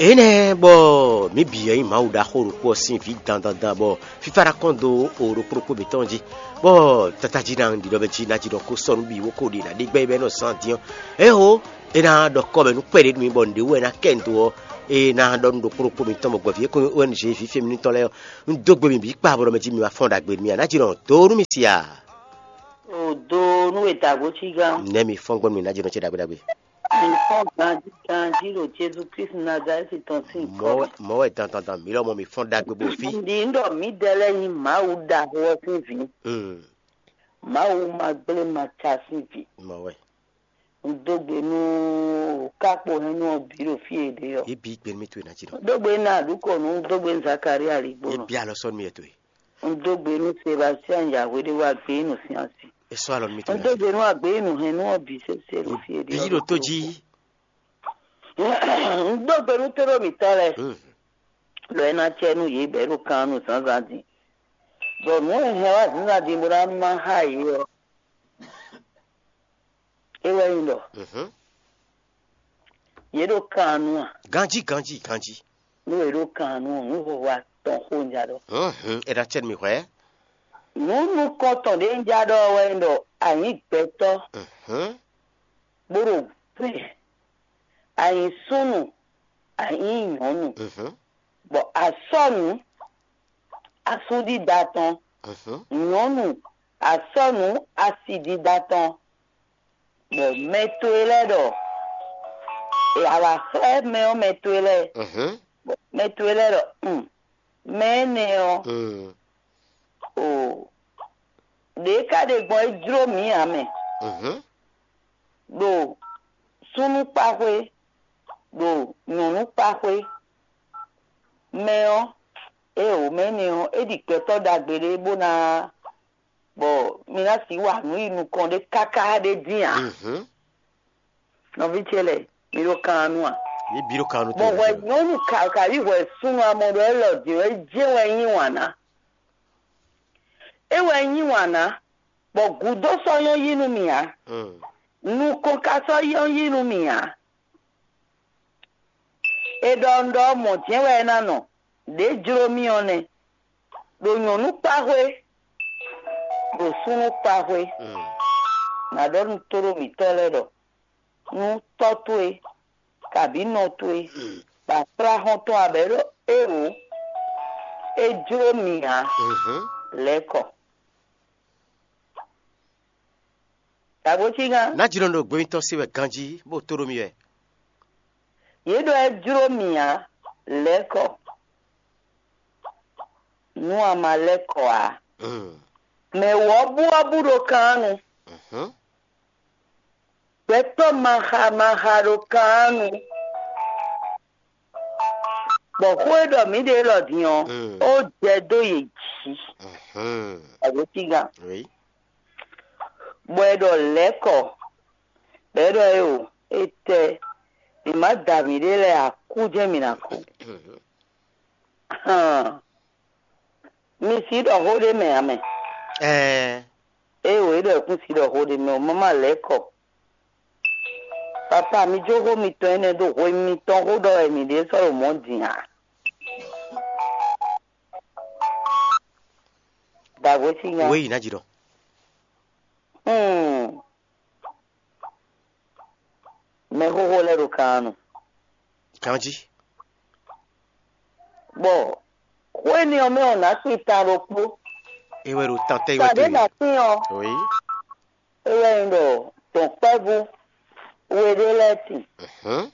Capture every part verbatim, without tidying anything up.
Énɛ́ bɔ mǐ bǐ wɛ nyí Mawu ɖaxó ɖokpó ɔ́ sín vǐ dandandan, bɔ fífá ná kɔn dó o ɖokpó ɖokpó mǐtɔn jí, bɔ tata jí ná ɖiɖɔ mɛ jí ná jí ɖɔ kó sɔ́ nú bǐ wó kó ɖe ná ɖe gbɛ́ bɔ é nɔ zán dín ɔ́, ého é ná ɖɔ kɔ́ mɛ nú kpɛɖé nú mì bɔ nǔɖé wú wɛ ná kɛ nǔ dó ɔ́, é ná ɖɔ nú ɖokpó ɖokpó mǐtɔn bɔ gbɔ̌ví e kó nyí O N G vǐ fɛ́mínútɔn lɛ́ɛ ɔ́, un dó gbe mi bǐ kpa bɔ ɖɔ mɛ jí mi ma fɔ́n ɖagbe nú mì ǎ, ná jí nɔ dó nú mì si a? O do nú e dǎgbó cí gán. Nɛ̌ mi fɔ́n gbɔn nú mì ná jí nɔ ce ɖagbe ɖagbe? Mi fɔ́n ganjí ganjí ɖo Jezu Kristu Nazalɛ́ti tɔn sín kɔ. Mɔ̌ wɛ dandandan mǐ lɔmɔ̌ mi fɔ́n ɖagbe bó fí. Ndi ń ɖɔ mǐdɛɛ lɛ́ɛ nyí Mawu ɖaxó ɔ́ sín vǐ. Mm, Mawu ma gblé ma ca sín vǐ. Mɔ̌ wɛ. Un dó gbe nú kákpo hɛn nú ɔ́ bǐ ɖo fí e ɖe ɔ́. Yě bí gbe nú mì towe ná jí nɔ. Un dó gbe nú Aɖǔkɔnu, un dó gbe nú Zakalía Yě Aligbónɔ. Bí alɔ sɔ́ nú mì wɛ towe. Un dó gbe nú Sebastian Yahweh ɖé wá gbé nú sín asi. É sɔ́ alɔ nú mì towe Un ná dó jí. Gbe nú agběyinú hɛn nú ɔ́ bǐ sésé ɖo fí e ɖe Bí ɔ́ ɖo tó ɖokpó. Jí. Un dó gbe nú tóɖó mǐtɔn lɛ́ɛ, Mm, ɖɔ é ná cɛ nú yě bɔ é ɖo kan nú zǎnzǎn din. Bɔ nǔ e hɛn wá zǐnzán din bó ná má xá yě ɔ́, é wɛ nyí ɖɔ mhm. Yě ɖo kan nu a? Ganjí, ganjí, ganjí. Nú yě ɖo kan nu ɔ́, nǔ hwɛhwɛ atɔn xó un ja ɖɔ. Mhm, é ná cɛ nú mì hwɛ̌. Nǔ nukɔntɔn ɖé un ja ɖɔ wɛ nyí ɖɔ a nyǐ gbɛtɔ́, Mhm, bó ɖo gbɛ, a nyǐ súnnu, a nyǐ nyɔ̌nu, mhm, bɔ a sɔ́ nǔ asú dídá tɔn, mhm, nyɔ̌nu a sɔ́ nǔ asi dídá tɔn, bɔ mɛ towe lɛ́ɛ ɖɔ, e a wǎ xlɛ́ mɛ ɔ́ mɛ towe lɛ́ɛ, mhm, bɔ mɛ towe lɛ́ɛ ɖɔ, un, mɛ énɛ́ ɔ́, mm, o, ɖě ka ɖe gbɔn é jló mǐ ǎ mɛ, mhm, ɖo súnnu kpa xwé, ɖo nyɔ̌nu kpa xwé. Mɛ ɔ́, éeǒ, mɛ énɛ́ ɔ́, é ɖi gbɛtɔ́ ɖagbe ɖé bó ná, bɔ mi ná sixú wa nǔ yi nukɔn ɖé káká ɖé dín ǎ. Mhm. Nɔví ce lɛ́ɛ, mi ɖo kan nu a? Yě bǐ ɖo kan nu Bɔ hwɛ nyɔ̌nu ka ka yí hwɛ súnnu amɔ ɖɔ élɔ́ din ɔ́, é jɛ́n wɛ é yí wǎn ná. É wɛ é yí wǎn ná, bɔ gǔdo sɔ́ nyɔ́ yí nú mì ǎ. Mm. Nukɔn ka sɔ́ nyɔ́ yí nú mì ǎ. È ɖɔ un ɖɔ mɔ̌ jɛ́n wɛ é ná nɔ, ɖě jló mì ɔ́ nɛ́. Ɖo nyɔ̌nu kpa xwé, ɖo súnnu kpa xwé, Mm. nǎ ɖɔ nú tóɖó mǐtɔn lɛ́ɛ ɖɔ, nú tɔ́ towe, kabǐ nɔ towe, bɔ a kplá xɔ́ntɔn abɛ ɖɔ éeǒ, é jló mì ǎ, Mhm. lɛ̌ kɔ. Dǎgbó cí gán. Nǎ jló ɖo gbɛmítɔ́ se wɛ ganjí, bó tó ɖó mi wɛ. Yě ɖɔ é jló mì ǎ, lɛ̌ kɔ. Nú a ma lɛ́ kɔ ǎ. Mm. Mɛ wɔ̌buwɔ́bú ɖo kannu. Mhm. Gbɛtɔ́ maxa maxa ɖo kannu. Bɔ xó e ɖɔ mǐ ɖe élɔ́ din ɔ́, Mm. ó jɛ dó yě jí. Mhm. Agbótígan. Oui. Bɔ é ɖɔ lɛ̌ kɔ, bɔ é ɖɔ é o, étɛ́, mǐ má da mǐɖée lɛ́ɛ ǎ, kú jɛ́n mǐ ná kú. Mhm. Hán, mi sixú ɖɔ xó ɖé mɛ ǎ mɛ. Ɛɛ. Éeǒ, é ɖɔ é kún sixú ɖɔ xó ɖé mɛ o, má má lɛ̌ kɔ. Papa, mi jó xó mitɔn énɛ́ ɖó hwenu mitɔn xó ɖɔ wɛ mǐ ɖe sɔ́ ɖo mɔ̌ din ǎ. Dǎgbó cí nya. Wéyi ná jí ɖɔ. Hmm. Mɛxóxó lɛ́ɛ ɖo kan nu. Ganjí. Bɔ xó énɛ́ ɔ́ mɛ ɔ́ nǎ kpin tan ɖokpó. É wɛ ɖo tan tɛ́ wɛ Tɔn ɖé towe. Nǎ kpin ɔ́, Oui. É wɛ nyí ɖɔ dɔ̌nkpɛ́vú we ɖé lɛ́ɛ tin, Mhm.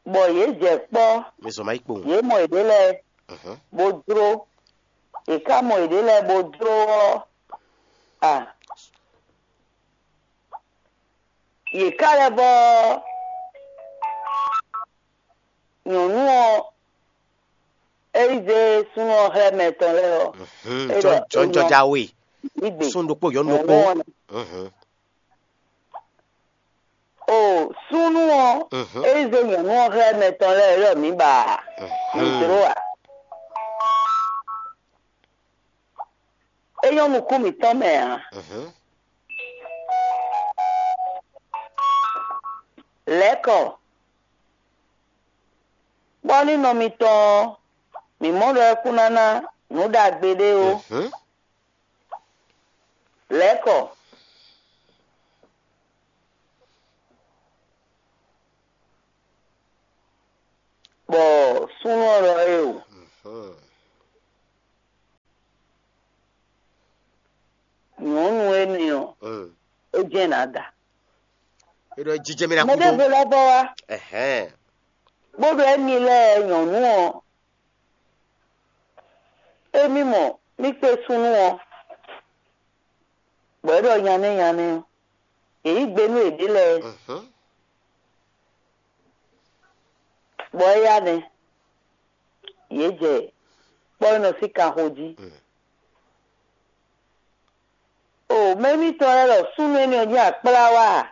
bɔ yě jɛ kpɔ́, Mi zɔn ma yi kpowun. Yě mɔ yěɖée lɛ́ɛ Mhm. Bó jló, yě ká mɔ yěɖée lɛ́ɛ bó jló ɔ́, a, yě ká lɛ́ vɔ́ nyɔ̌nu ɔ́, é yi zé súnnu ɔ́ xlɛ́ mɛ tɔn lɛ́ɛ ɔ́, Mhm. é ɖɔ Jɔn- jɔnjɔja we. Gbígbé. Sún ɖokpó yɔ̌nu ɖokpó. Nyɔ̌nu ɔ́, Mhm. O súnnu ɔ́, Mhm. É yi zé nyɔ̌nu ɔ́ xlɛ́ mɛ tɔn lɛ́ɛ ɖɔ mǐ ba Mhm. mǐ dló ǎ. É nyɔ́ nukún mǐtɔn mɛ ǎ. Mhm. Lɛ̌kɔ, bɔ ní nɔ mitɔn ɔ́, mǐ mɔ ɖɔ é kún ná ná nǔ ɖagbe ɖé ó. Lɛ̌kɔ, bɔ súnnu ɔ́ ɖɔ éeǒ. Nyɔ̌nu énɛ́ ɔ́, é jɛ́n nǎ da. É ɖɔ jijɛ mì ná kú dó. Mɛɖěvo lɛ́ vɔ wá, bó ɖɔ émi lɛ́ɛ nyɔ̌nu ɔ́, émí mɔ mí kpé súnnu ɔ́, bɔ é ɖɔ nyanɛ́ nyanɛ́ ɔ́, yě yí gbe nú yěɖée lɛ́ɛ, bɔ éyá nɛ́, yě jɛ kpɔ́ e nɔ sín kanxo jí. O mɛ émítɔn lɛ́ɛ ɖɔ súnnu énɛ́ ɔ́ jɛ́n akplá wá a?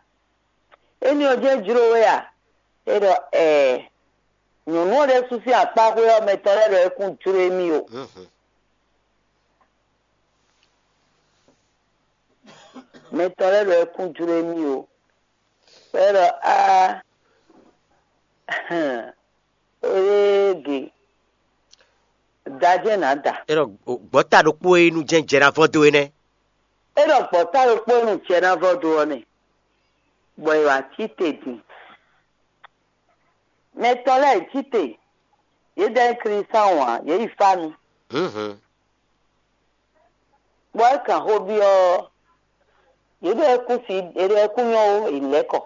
Énɛ́ ɔ́ jɛ́n jló we a? É ɖɔ ɛɛ. Nyɔ̌nu ɔ́ ɖésú sín akpáxwé ɔ́ mɛ tɔn lɛ́ɛ ɖɔ é kún jló émí o. Mɛ tɔn lɛ́ɛ ɖɔ é kún jló émí o. É ɖɔ aa. Ége, da jɛ́n nǎ da. É ɖɔ gbɔ̌ta ɖokpó e nu jɛ́n jɛ ná vɔ́ dó é nɛ́. É ɖɔ gbɔ̌ta ɖokpó e nu jɛ ná vɔ́ dó ɔ́ nɛ, bɔ è wǎ cí te din. Mɛ tɔn lɛ́ɛ cí te, yě dɛ nyí Klísáwun ǎ, yě yi fá nu. Bɔ é kan xó byɔ́ ɔ́, yě ɖɔ é kún si, yě ɖɔ é kún nyɔ́ ó, è lɛ̌ kɔ.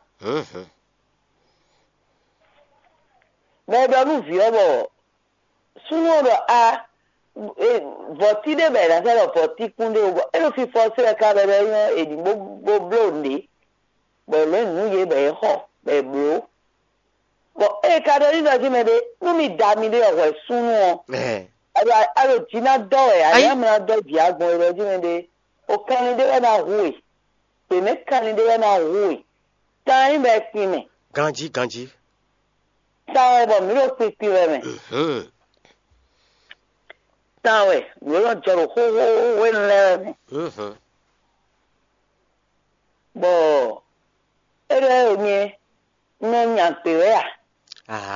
Bɔ è ɖɔ nú vǐ ɔ́ bɔ súnnu ɔ́ ɖɔ a vɔ̌ti ɖé bɔ è nǎ sɛ́ ɖɔ vɔ̌tikún ɖé ó, bɔ é ɖo fifɔ se wɛ ka bɔ é nyɔ́ è ɖǐ bó bó bló nǔɖé, bɔ è lǒ nǔ yě bɔ yě xɔ bɔ è blǒ. Bɔ ée ka ɖɔ n'i ɖɔ jí mɛ ɖé, nú mi da miɖée ɔ́ hwɛ súnnu ɔ́, a ɖo a ɖo jǐ ná dɔ́ wɛ, a Ayí. Nyǎ mlá dɔ́ jǐ agbɔn e ɖɔ jí mɛ ɖé, o kanlin ɖé wɛ ná hu we, gbě mɛ kanlin ɖé wɛ ná hu we, tan nyí bɔ è kpin mɛ, Ganjí ganjí. Tan wɛ bɔ mǐ ɖo kpinkpin wɛ mɛ, tan wɛ nǔ e nɔ jɔ ɖo xóxó hwenu lɛ́ɛ wɛ mɛ. Bɔ é ɖɔ ɛ nyɛ un nɔ nya gbě wɛ a?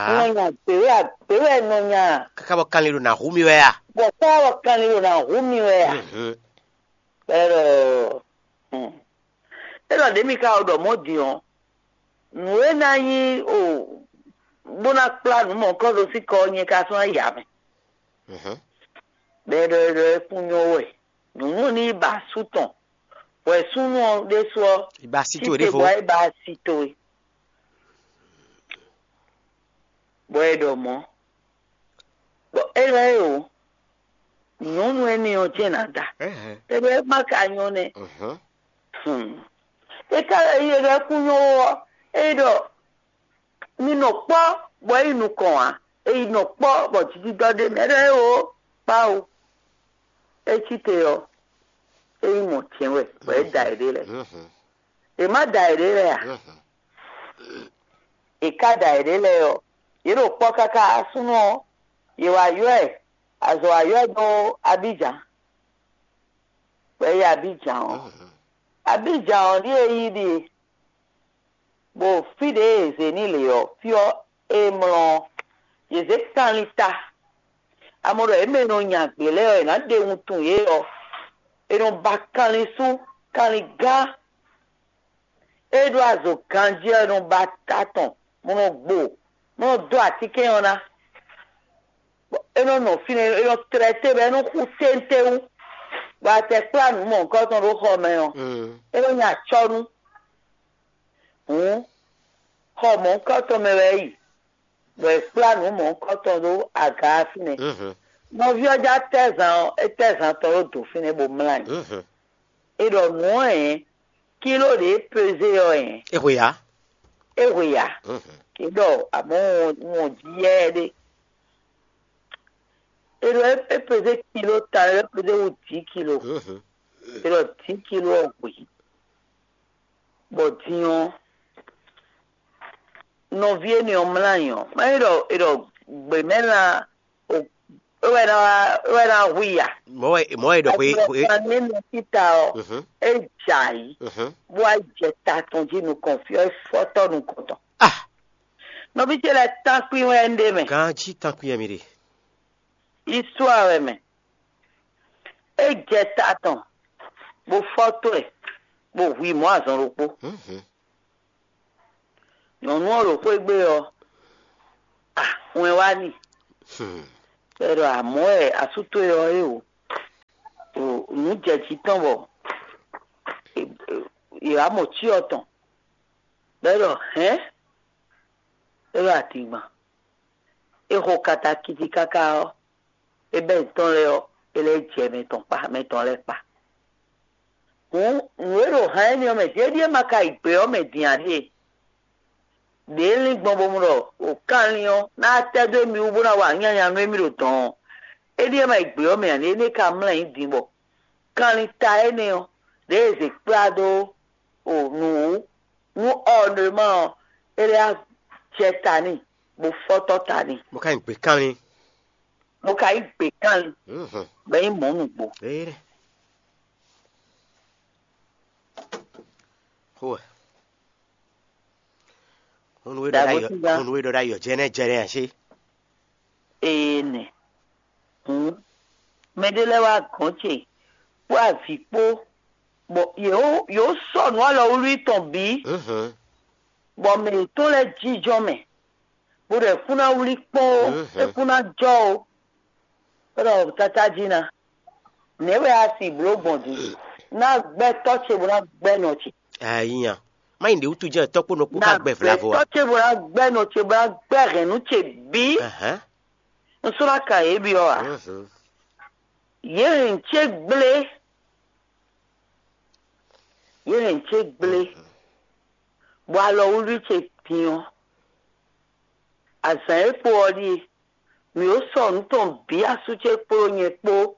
Un nɔ nya gbě wɛ a? Gbě wɛ un nɔ nya a? Káká bɔ kanlin ɖo nǎ hu mì wɛ a? Bɔ ká bɔ kanlin ɖo nǎ hu mì wɛ a? Bɔ é ɖɔ é ɖɔ ɖě mi ka ɖɔ mɔ̌ din ɔ́, nǔ e ná nyí o bó ná kplá nǔ mɔ̌hunkɔtɔn sín kɔ ɔ́ nyɛ ka sɔ́ ná yi amɛ. Bɔ é ɖɔ é ɖɔ é kún nyɔ́ wɛ. Nyɔ̌nu ɔ́ ní yi ba asú tɔn, bɔ è súnnu ɔ́ ɖésú ɔ́ Yi ba asi towe ɖěvo. Bɔ é ba asi towe, bɔ è ɖɔ mɔ̌. Bɔ é lɛ́ o, nyɔ̌nu énɛ́ ɔ́ jɛ́n ná da. Éɖɛ́ má ka nyɔ́ nɛ́. É ka lɛ́ yi é lɛ́ kún nyɔ́ ó ɔ́, é ɖɔ mi nɔ kpɔ́ bɔ é yi nukɔn ǎ. É yi nɔ kpɔ́ bɔ jijidɔ ɖé mɛ ɖɔ é o kpá o. É cí te ɔ́, é yi mɔ jɛ̌n wɛ bɔ é da yěɖée lɛ́ɛ. È má da yěɖée lɛ́ɛ a? È ka da yěɖée lɛ́ɛ ɔ́, yě ɖo kpɔ́ káká súnnu ɔ́, yě wá ylɔ́ ɛ, azɔ̌ wá ylɔ́ ɛ dó Abíjan. Bɔ é yi Abíjan ɔ́, Abíjan ɔ́ ɖíe yí ɖíe. Bɔ fí ɖě e è zě n'i lě ɔ́, fí ɔ́ e mlɔ ɔ́, yě zě kanlin ta. A mɔ ɖɔ yě mɛ e nɔ nya gbě lɛ́ɛ ɔ́, è nǎ ɖe wuntun yě ɔ́, è nɔ ba kanlin sú, kanlin gán. É ɖó azɔ̌ ganjí ɔ́, è nɔ ba ta tɔn, bó nɔ gbo, bó nɔ dó atínkɛn ɔ́ ná. É nɔ nɔ fínɛ́, é nɔ tlɛ té bɔ é nɔ xú téńtéwú, bɔ a tɛ kplá nǔ mɔ̌hunkɔtɔn ɖó xɔ mɛ ɔ́, é nɔ nya acɔ́nú. Hǔn xɔ mɔ̌hunkɔtɔn mɛ wɛ é yi, bɔ è kplá nǔ mɔ̌hunkɔtɔn ɖó aga ɔ́ fínɛ́. Nɔví ɔ́ já tɛ́ zan ɔ́, é tɛ́ zan tɔn ɖó dǒ fínɛ́ bó mlá anyi. É ɖɔ nǔ ɔ́ hɛ̌n, kíló ɖě é pezé ɔ́ hɛ̌n, É hwe ǎ. É hwe ǎ. É ɖɔ amɔ̌ un jí yɛ́ ɖé. É ɖɔ é pezé kíló ta, é pezé wú dǐ kíló. É ɖɔ dǐ kíló ɔ́ hwe. Bɔ din ɔ́, nɔví énɛ́ ɔ́ mlá nyi ɔ́, má nyí ɖɔ è ɖɔ gběmɛ́lan é wɛ ná é wɛ ná hu i a? Mɔ̌ wɛ mɔ̌ wɛ è ɖɔ xwe xwe. Kan ní nɔ síta ɔ́, é jɛ ayǐ, bó wá jɛ ta tɔn jí nukɔn fí ɔ́, é fɔ́tɔ́ nukɔn tɔn. Ah! Nɔví ce lɛ́ɛ tán kpín wɛ un ɖe mɛ. Ganjí tán kpín wɛ mi ɖe. Yísúa wɛ mɛ. É jɛ ta tɔn, bó fɔ́ tó ɛ, bó hu i mɔ̌ azɔn ɖokpó. Nyɔ̌nu ɔ́ ɖo xwé gbe ɔ́, a wɛn wá n'i. Bɔ è ɖɔ amɔ̌ wɛ asú towe ɔ́ é o. Nǔ jɛ jǐ tɔn bɔ è wǎ mɔ cyɔ tɔn. Bɔ é ɖɔ hɛ̌n, é ɖɔ adingban. É xo katakiti káká ɔ́, é bɛ́ nyǐtɔn lɛ́ɛ ɔ́, é lɛ́ jɛ mɛ tɔn kpa, mɛ tɔn lɛ́ɛ kpa. Hǔn nǔ e ɖo han énɛ́ ɔ́ mɛ din é ɖíe ma ka yi gbě ɔ́ mɛ din ǎ ɖíe. Đě é lín gbɔn bó mɔ ɖɔ o kanlin ɔ́ ná tɛ́ dó émí wú bó ná wa nyanya nú émí ɖo dɔ̌n ɔ́, é ɖíe ma yi gbě ɔ́ mɛ ǎ, énɛ́ ka mlá nyǐ din bɔ kanlin ta énɛ́ ɔ́, ɖěe è zě kplá dó o nǔ wú nú ɔ́ nɔ e ma ɔ́, é lɛ́ jɛ ta n'i, bó fɔ́tɔ́ ta n'i, Mo ka nyi gbě kanlin. Bó ka yí gbě kanlin, Mhm. Bɔ é nyí mɔ̌ nǔgbó. Ée ɖɛ. Xó wɛ. Hɔn nú é ɖɔ Dǎgbó ɖ'ayǐ, tígá. Hɔn nú é ɖɔ ɖ'ayǐ ɔ́, jɛnɛ jɛnɛ ǎ ṣé. Ee nɛ. Hǔn mɛɖé lɛ́ɛ wá gɔ̌n ce kpó avǐ kpó, bɔ yě wó yě wó sɔ́ nǔ alɔwlí tɔn bǐ, Mhm. Bɔ mɛ yětɔn lɛ́ɛ jínjɔ́n mɛ, bó ɖɔ é kún ná wlí kpɔ́n ó, Mhm. É kún ná jɔ ó. É ɖɔ tata jí ná, nɛ̌ wɛ a si blǒ gbɔn din? Ná gbɛ́ tɔ́ ce bó ná gbɛ́ nɔ ce. Ayi nya. Má nyí ɖě wútu jɛ́n tɔ́ kpó nɔ kpó Ná ká gbɛ gbɛ́ vlavo a? Tɔ́ ce bó ná gbɛ́ nɔ ce bó ná gbɛ́ hɛ̌nnu ce bǐ. Ahán. Un sɔ́ ná ka yě byɔ́ ǎ. Mhm. Yě hɛn ce gblé. Yě hɛn ce gblé. Mhm. Bɔ alɔwlí ce din ɔ́, azǎn e kpo ɔ́ ɖíe: mǐ ó sɔ nǔ tɔn bǐ asú ce kpódó nyɛ kpó,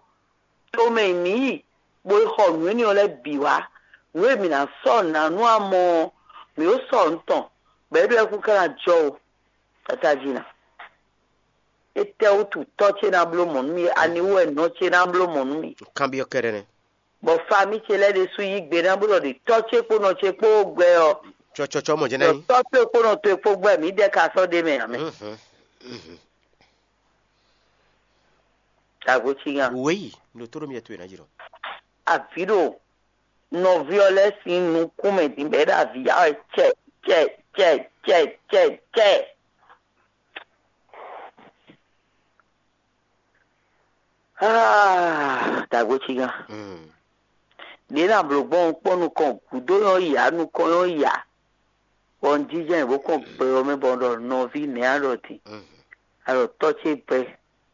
tomɛ e mǐ yi, bó yi xɔ nǔ énɛ́ ɔ́ lɛ́ɛ bǐ wá. Nǔ e mǐ ná sɔ́ nǎ nú amɔ ɔ́, mǐ ó sɔ nǔ tɔn, bɔ é ɖo ɛkún ká ná jɔ ó. Tata jí ná. Étɛ́wútu tɔ́ ce ná bló mɔ̌ nú mì? Ani wú wɛ nɔ ce ná bló mɔ̌ nú mì? Kanbyɔ́ kɛ́ɖɛ́ nɛ́. Bɔ famí ce lɛ́ɛ ɖésú yí gbe ná bó ɖɔ ɖě tɔ́ ce kpó nɔ ce kpó gbɛ ɔ́, Cɔcɔcɔ mɔ jɛ́n ná ɖɔ nyí. Tɔ́ ce kpó nɔ towe kpó gbɛ mǐ dɛ ka sɔ́ ɖ'é mɛ ǎ mɛ. Mhm. Mhm. Dǎgbó cí nya. Wěyi, ɖo tó ɖo mì towe ná jí ɖɔ. Avǐ ɖo nɔví ɔ́ lɛ́ɛ sín nukún mɛ din bɔ é ɖo avǐ ya wɛ cɛ cɛ cɛ cɛ cɛ cɛ. Ah, dǎgbó cí nya. Mm. Ɖě ná blǒ gbɔn kpɔ́n nukɔn gǔdo nyɔ́ ya nukɔn nyɔ́ ya. Bɔ un jínjɔ́n bó kɔn gbɛ ɔ́ mɛ bɔ un ɖɔ nɔví nɛ̌ a ɖɔ din? Mm. A ɖɔ tɔ́ ce gbɛ,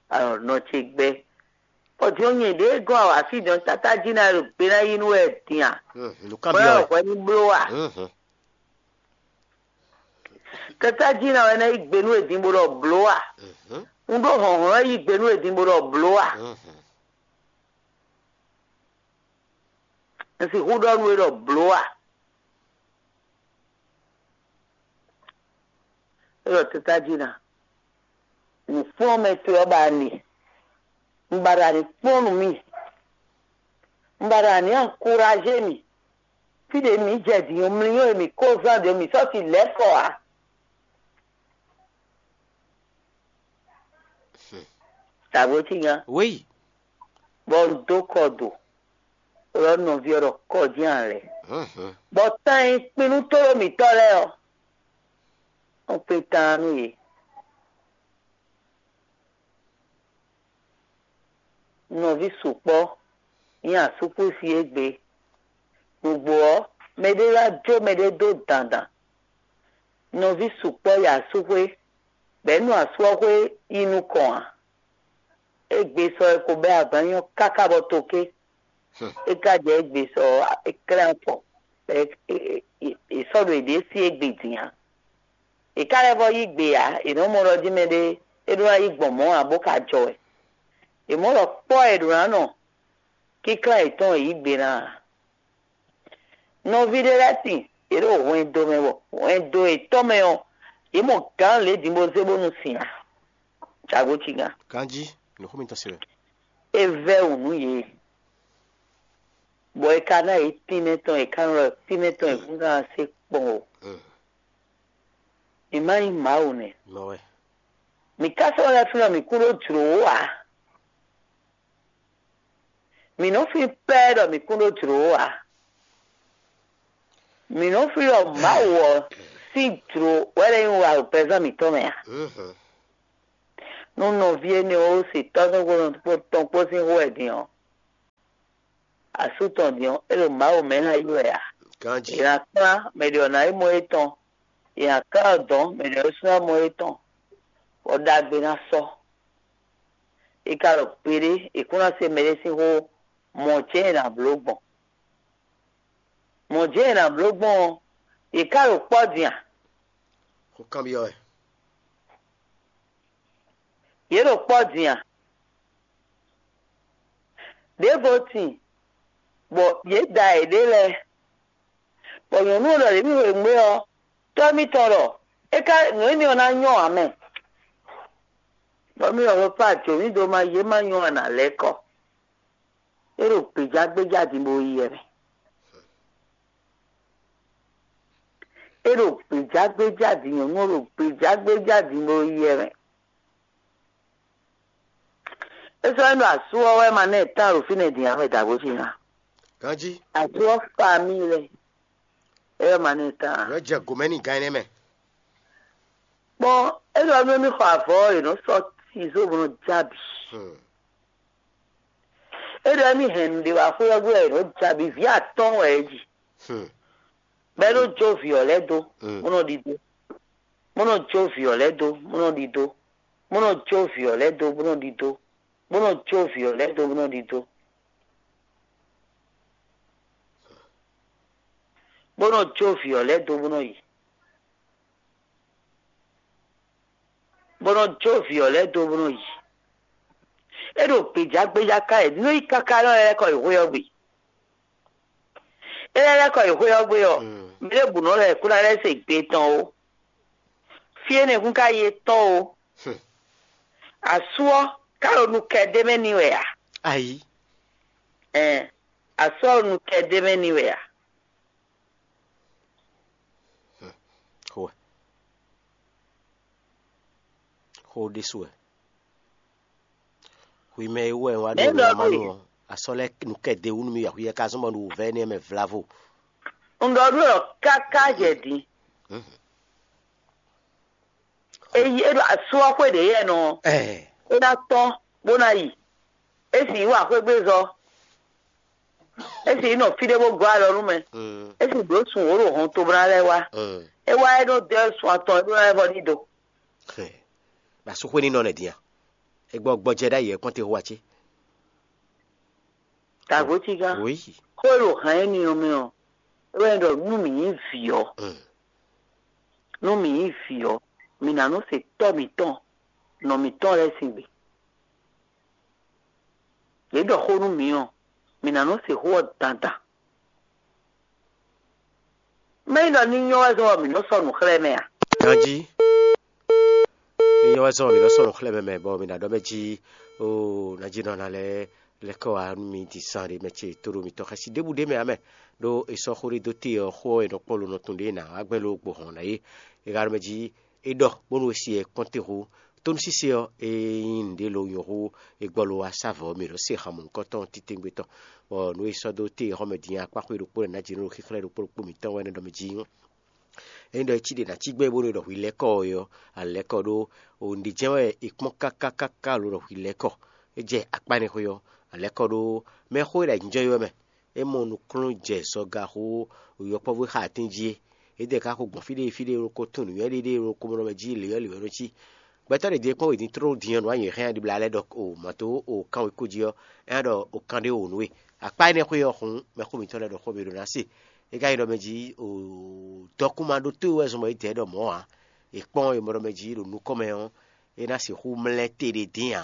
a ɖɔ nɔ ce gbɛ. Bɔ din ɔ́ nyɛ ɖěe gɔ́n awǎ fí din ɔ́, tata jí ná ɖo gbe ná yí nú wɛ din a? Mm. Nǔ Bɔ kanbyɔ́ wɛ. Hwɛ ní bló a? Mm. Tata jí ná wɛ ná yí gbe nú wɛ din bó ɖɔ bló a? Mm. Un ɖó hlɔ̌nhlɔ́n yí gbe nú wɛ din bó ɖɔ bló a? Mm. Un sixú ɖɔ nú we ɖɔ bló a? É ɖɔ tata jí ná. Nǔkplɔ́nmɛ towe ɔ́ ba a nɖe. Un ba ɖo anǐ kplɔ́n nú mì. Un ba ɖo anǐ ankuraze mì. Fí ɖě mǐ jɛ din ɔ́, mlí ɔ́ e mǐ kó zán ɖě ɔ́, mǐ sɔ́ si lɛ̌ kɔ ǎ. Dǎgbó cí nya. Wéyi. Bɔ un dó kɔ do, ɖɔ nɔví ɔ́ ɖɔ kɔ jí ǎ lɛ́ɛ. Mhm. Bɔ tan e kpin nú tóɖó mǐtɔn lɛ́ɛ ɔ́, un kpin taan nú yě. Nɔví sukpɔ́ nyí asúkúsi égbé. Nǔgbó ɔ́, mɛɖé wá jó mɛɖé dó dandan. Nɔví sukpɔ́ yi asúxwé, bɔ é nɔ asú ɔ́ xwé yi nukɔn ǎ. Égbé sɔ é ko bɛ́ agban nyɔ́ káká bɔ toké. É ka jɛ égbé sɔ ɔ́, é klɛ́n afɔ, bɔ é sɔ́ ɖo yěɖée sí égbé din ǎ. È ká lɛ́ vɔ́ yí gbe ǎ; è nɔ́ mɔ ɖɔ jí mɛɖé é ɖó ná yí gbɔn mɔ̌ ǎ bó ka jɔ wɛ. È mɔ̌ ɖɔ kpɔ́ e è ɖǒ ná nɔ kínkán yětɔn e yǐ gbe ná ǎ. Nɔví ɖé lɛ́ɛ sin yě ɖo hwɛndo mɛ bɔ hwɛndo yětɔn mɛ ɔ́, yě mɔ gǎn lě din bó zé bónú sin ǎ. Jǎgo cígán. Ganjí, nǔxó mitɔn se wɛ. É vɛ́ wǔ nú yě, bɔ è ka ná yě tínmɛ tɔn, è ka nɔ ɖɔ tínmɛ tɔn è kún ná se kpɔn o. Mm. Mǐ ma nyí Mawu nɛ́. Mɔ wɛ. Mǐ ka sɔ́ lɛ́ flɔ́ mǐ kún ɖó jlǒ ó ǎ. Mǐ nɔ flín pɛ́ ɖɔ mǐ kún ɖó jlǒ ó ǎ. Mǐ nɔ flín ɖɔ Mawu ɔ́ sín jlǒ wɛ lɛ́ nyí wa ɖo pɛzán mǐtɔn mɛ ǎ. Nú nɔví énɛ́ ɔ́ se tɔ́ tɔn kpó sín xó wɛ din ɔ́, asú tɔn din ɔ́, é ɖo Mawu mɛ ná yi wɛ ǎ. È Ganji. nǎ kplán mɛ ɖě ɔ́ ná yi mɔ étɔn, è nǎ kplán ɔ́ dɔ̌n mɛ ɖě ɔ́ sú ná mɔ étɔn, bɔ ɖagbe ná sɔ́. È ka ɖo gbeɖé, è kún ná se mɛɖé sín xó, mɔ̌ cɛ́n è nǎ bló gbɔn. Mɔ̌ jɛ́n è nǎ bló gbɔn ɔ́, yě ká ɖo kpɔ́ din a? Xó kanbyɔ́ wɛ. Yě ɖo kpɔ́ din a? Ɖěvo tin, bɔ yě da yěɖée lɛ́ɛ, bɔ nyɔ̌nu ɔ́ ɖɔ ɖě mì xweyǐgbe ɔ́, tɔ́ mitɔn ɖɔ é ká nǔ énɛ́ ɔ́ ná nyɔ́ ǎ mɛ. Bɔ mì ɖɔ xwekpá jǒ mì dó má yě má nyɔ́ ǎ nǎ lɛ́ kɔ. É ɖo gbějágbéjá din bó yi wɛ mɛ. É ɖo gbějágbéjá din, nyɔ̌nu ɔ́ ɖo gbějágbéjá din bó yi wɛ mɛ. É sɔ́ nyí ɖɔ asú ɔ́ wɛ ma ná ɛ tán ɖo fínɛ́ din ǎ wɛ dǎgbó ce ná. Ganji. Asú ɔ́ fa mì lɛ. É wɛ ma ná ɛ tán ǎ. Yɔ jɛ gomɛ ni gan ɛnɛ mɛ. Kpɔn, é ɖɔ nú émí xɔ avɔ ɔ́, è nɔ sɔ́ tizó bó nɔ já bǐ. Hmm. É ɖɔ émí hɛn nǔɖé wá xwé ɔ́ gbe wɛ è nɔ já bǐ. Vǐ atɔ́ɔ́n wɛ é ji. Hmm. Bɔ é nɔ jó vǐ ɔ́ lɛ́ɛ dó, Mm. bó nɔ ɖidó. Bó nɔ jó vǐ ɔ́ lɛ́ɛ dó, bó nɔ ɖidó. Bó nɔ jó vǐ ɔ́ lɛ́ɛ dó, bó nɔ ɖidó. Bó nɔ jó vǐ ɔ́ lɛ́ɛ dó, bó nɔ ɖidó. Bó nɔ jó vǐ ɔ́ lɛ́ɛ dó, bó nɔ yi. Bó nɔ jó vǐ ɔ́ lɛ́ɛ dó, bó nɔ yi. É ɖo gbějágbéjá ká yě nú yi káká nɔ lɛ́ kɔ yi xwé ɔ́ gbe. É lɛ́ lɛ́ kɔ yi xwé ɔ́ gbe ɔ́, Mm. mɛ ɖěbǔ nɔ lɛ́ kún ná lɛ́ se gbe tɔn ó. Fí énɛ́ kún ka yi étɔn ó. Hmm. Asú ɔ́ ká ɖo nu kɛ d'é mɛ n'i wɛ ǎ. Ayi. Ɛn, asú ɔ́ ɖo nu kɛ d'é mɛ n'i wɛ ǎ. Xó wɛ. Xó ɖésú wɛ. Xwi mɛ e wɛ wá Mɛ ɖo ɖɔ lɔmanu nú ɔ́, asɔ lɛ nu kɛ de wú nú mi axwi yɛ ka zɔn bɔ nu wǔvɛ énɛ́ mɛ vlavo. Un ɖɔ nú ɔ káká jɛ din. Eyi é ɖo asú ɔ́ xwé ɖě yɛ nɔ. Ɛɛ. É ná tɔ́n bó ná yi. É sì yí wǎ xwé gbé zɔ. É sì yí nɔ fí ɖé bó gɔ́ alɔ nú mɛ. Mm, É sì bló sun wǒ ɖo hɔn tobla lɛ́ɛ wá. mm. É wá é nɔ dɛ sun atɔn é ɖó ná vɔ ní do. Hɛn. Ba sú xwé ní nɔ nɛ din a? Egbɔ gbɔjɛ ɖ'ayǐ ɛ kpɔ́n te xó wa cé? Tàgócígá. Oui. Xó e ɖo hǎn énɛ́ ɔ́ mɛ ɔ́, é wɛ ɖɔ nú mǐ nyí vǐ ɔ́, Mm. nú mǐ nyí vǐ ɔ́, mǐ ná nɔ se tɔ́ mǐtɔn, nɔ mǐtɔn lɛ́ɛ sín gbe. Yě ɖɔ xó nú mǐ ɔ́, mǐ ná nɔ se xó ɔ́ dandan. Mɛ̌ nyí ɖɔ ní nyɔ́ wɛ zɔ́n bɔ mǐ nɔ́ sɔ́ nǔ xlɛ́ mɛ a? Ganjí. Ní nyɔ́ wɛ zɔ́n mǐ nɔ sɔ́ nǔ xlɛ́ mɛ mɛ bɔ mǐ ná ɖɔ mɛ jí ó ná jí nɔ ná lɛ́ lɛ́ kɔ wá nú mi din zán ɖé mɛ ce tó ɖo mǐtɔn xɛsi ɖěbǔ ɖé mɛ ǎ mɛ. Ɖó è sɔ́ xó ɖé dó te ɔ́, xó ɔ́ è nɔ kpɔ́n lo nɔ tun ɖě ná wá gbɛn ló gbo hɔn ná é. È ka ɖɔ mɛ jí é ɖɔ bónú è si ɛ kpɔ́n te hú. Tónúsísé ɔ́, é nyí nǔɖé lo nyɔ̌ hú è gbɔ lo wá sá vɔ̌ mǐ ɖɔ se han mɔ̌hunkɔtɔn titewungbe tɔn. Bɔ nǔ e sɔ́ dó te xɔmɛ din akpáxwé ɖokpó lɛ́ɛ ná jǐ nú ɖo xíxlɛ́ ɖokpó ɖokpó mǐtɔn wɛ nɔ ɖɔ mɛ jí. Ényí ɖɔ é cí ɖe ná cí gbɛ́ bónú è ɖɔ hwi lɛ́ kɔ ɔ́, alɛ̌kɔ ɖó òun ɖi jɛ́n wɛ è kpɔ́n káká káká lo ɖɔ hwi lɛ́ kɔ. É jɛ akpá énɛ́ xwé ɔ́, alɛ̌kɔ ɖó mɛxó e ɖo ayǐjínjɔ́n é wɛ mɛ. É mɔ nukúnnú jɛ zɔga xó yɔkpɔ́vú e xa atín jí é. Édɛɛ ka xo gbɔn fí ɖé fí ɖé ɖokó tún nǔnywɛ́ ɖé ɖé ɖokó mɔ ɖɔ mɛ jí lě ɔ́ lě wɛ nɔ cí. Gbɛtɔ́ ɖě din kpɔ́n wědin tló din ɔ́ nǔ anyǔ hɛn ɖibla lɛ́ɛ ɖɔ o mǎ tó o kan wěkó jí ɔ́, é ná ɖɔ o kan ɖé o nǔ e. Akpá énɛ́ xwé ɔ́ xun mɛxó mǐtɔn lɛ́ɛ ɖɔ xó mǐ ɖo ná se. É ka nyí ɖɔ mɛ jí o dɔkúnma ɖótó e wɛ zɔn bɔ é dɛ ɖɔ mɔ̌ ǎ. È kpɔ́n è mɔ ɖɔ mɛ jí ɖo nukɔn mɛ ɔ́, é ná sixú mlɛ́ te ɖé dín ǎ.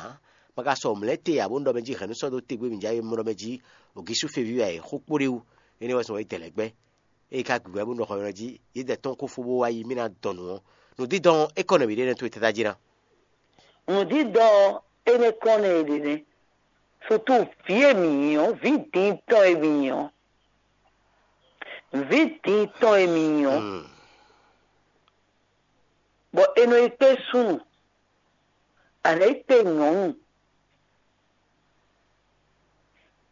Ma ka sɔ mlɛ́ te ǎ bónú ɖɔ mɛ jí hɛ̌nnu sɔ́ dó te gbé mǐ já é mɔ ɖɔ mɛ jí o gísú feví wɛ è xó kpó ɖé wú. Énɛ́ wɛ zɔn bɔ é dɛ lɛ̌ gbɛ́. Ée ka gbǐgbɛ́ bó nɔ xɔ nylɔ́ jí, yědɛɛ tɔn kó fó bó wá yi mì ná dɔn nǔ ɔ́. Nǔdídɔn ɔ́, é kɔ nɛ̌ mǐ ɖe nɛ́ tó e tɛ́ dá jí ná? Nǔdídɔn ɔ́, é nɛ́ kɔn nɛ è ɖe nɛ́. Sutu vǐ e mǐ nyí ɔ́, vǐ diin tɔn e mǐ nyí ɔ́, vǐ diin tɔn e mǐ nyí ɔ́, Hmm. è nɔ yi kpé súnnu, a nǎ yi kpé nyɔ̌nu.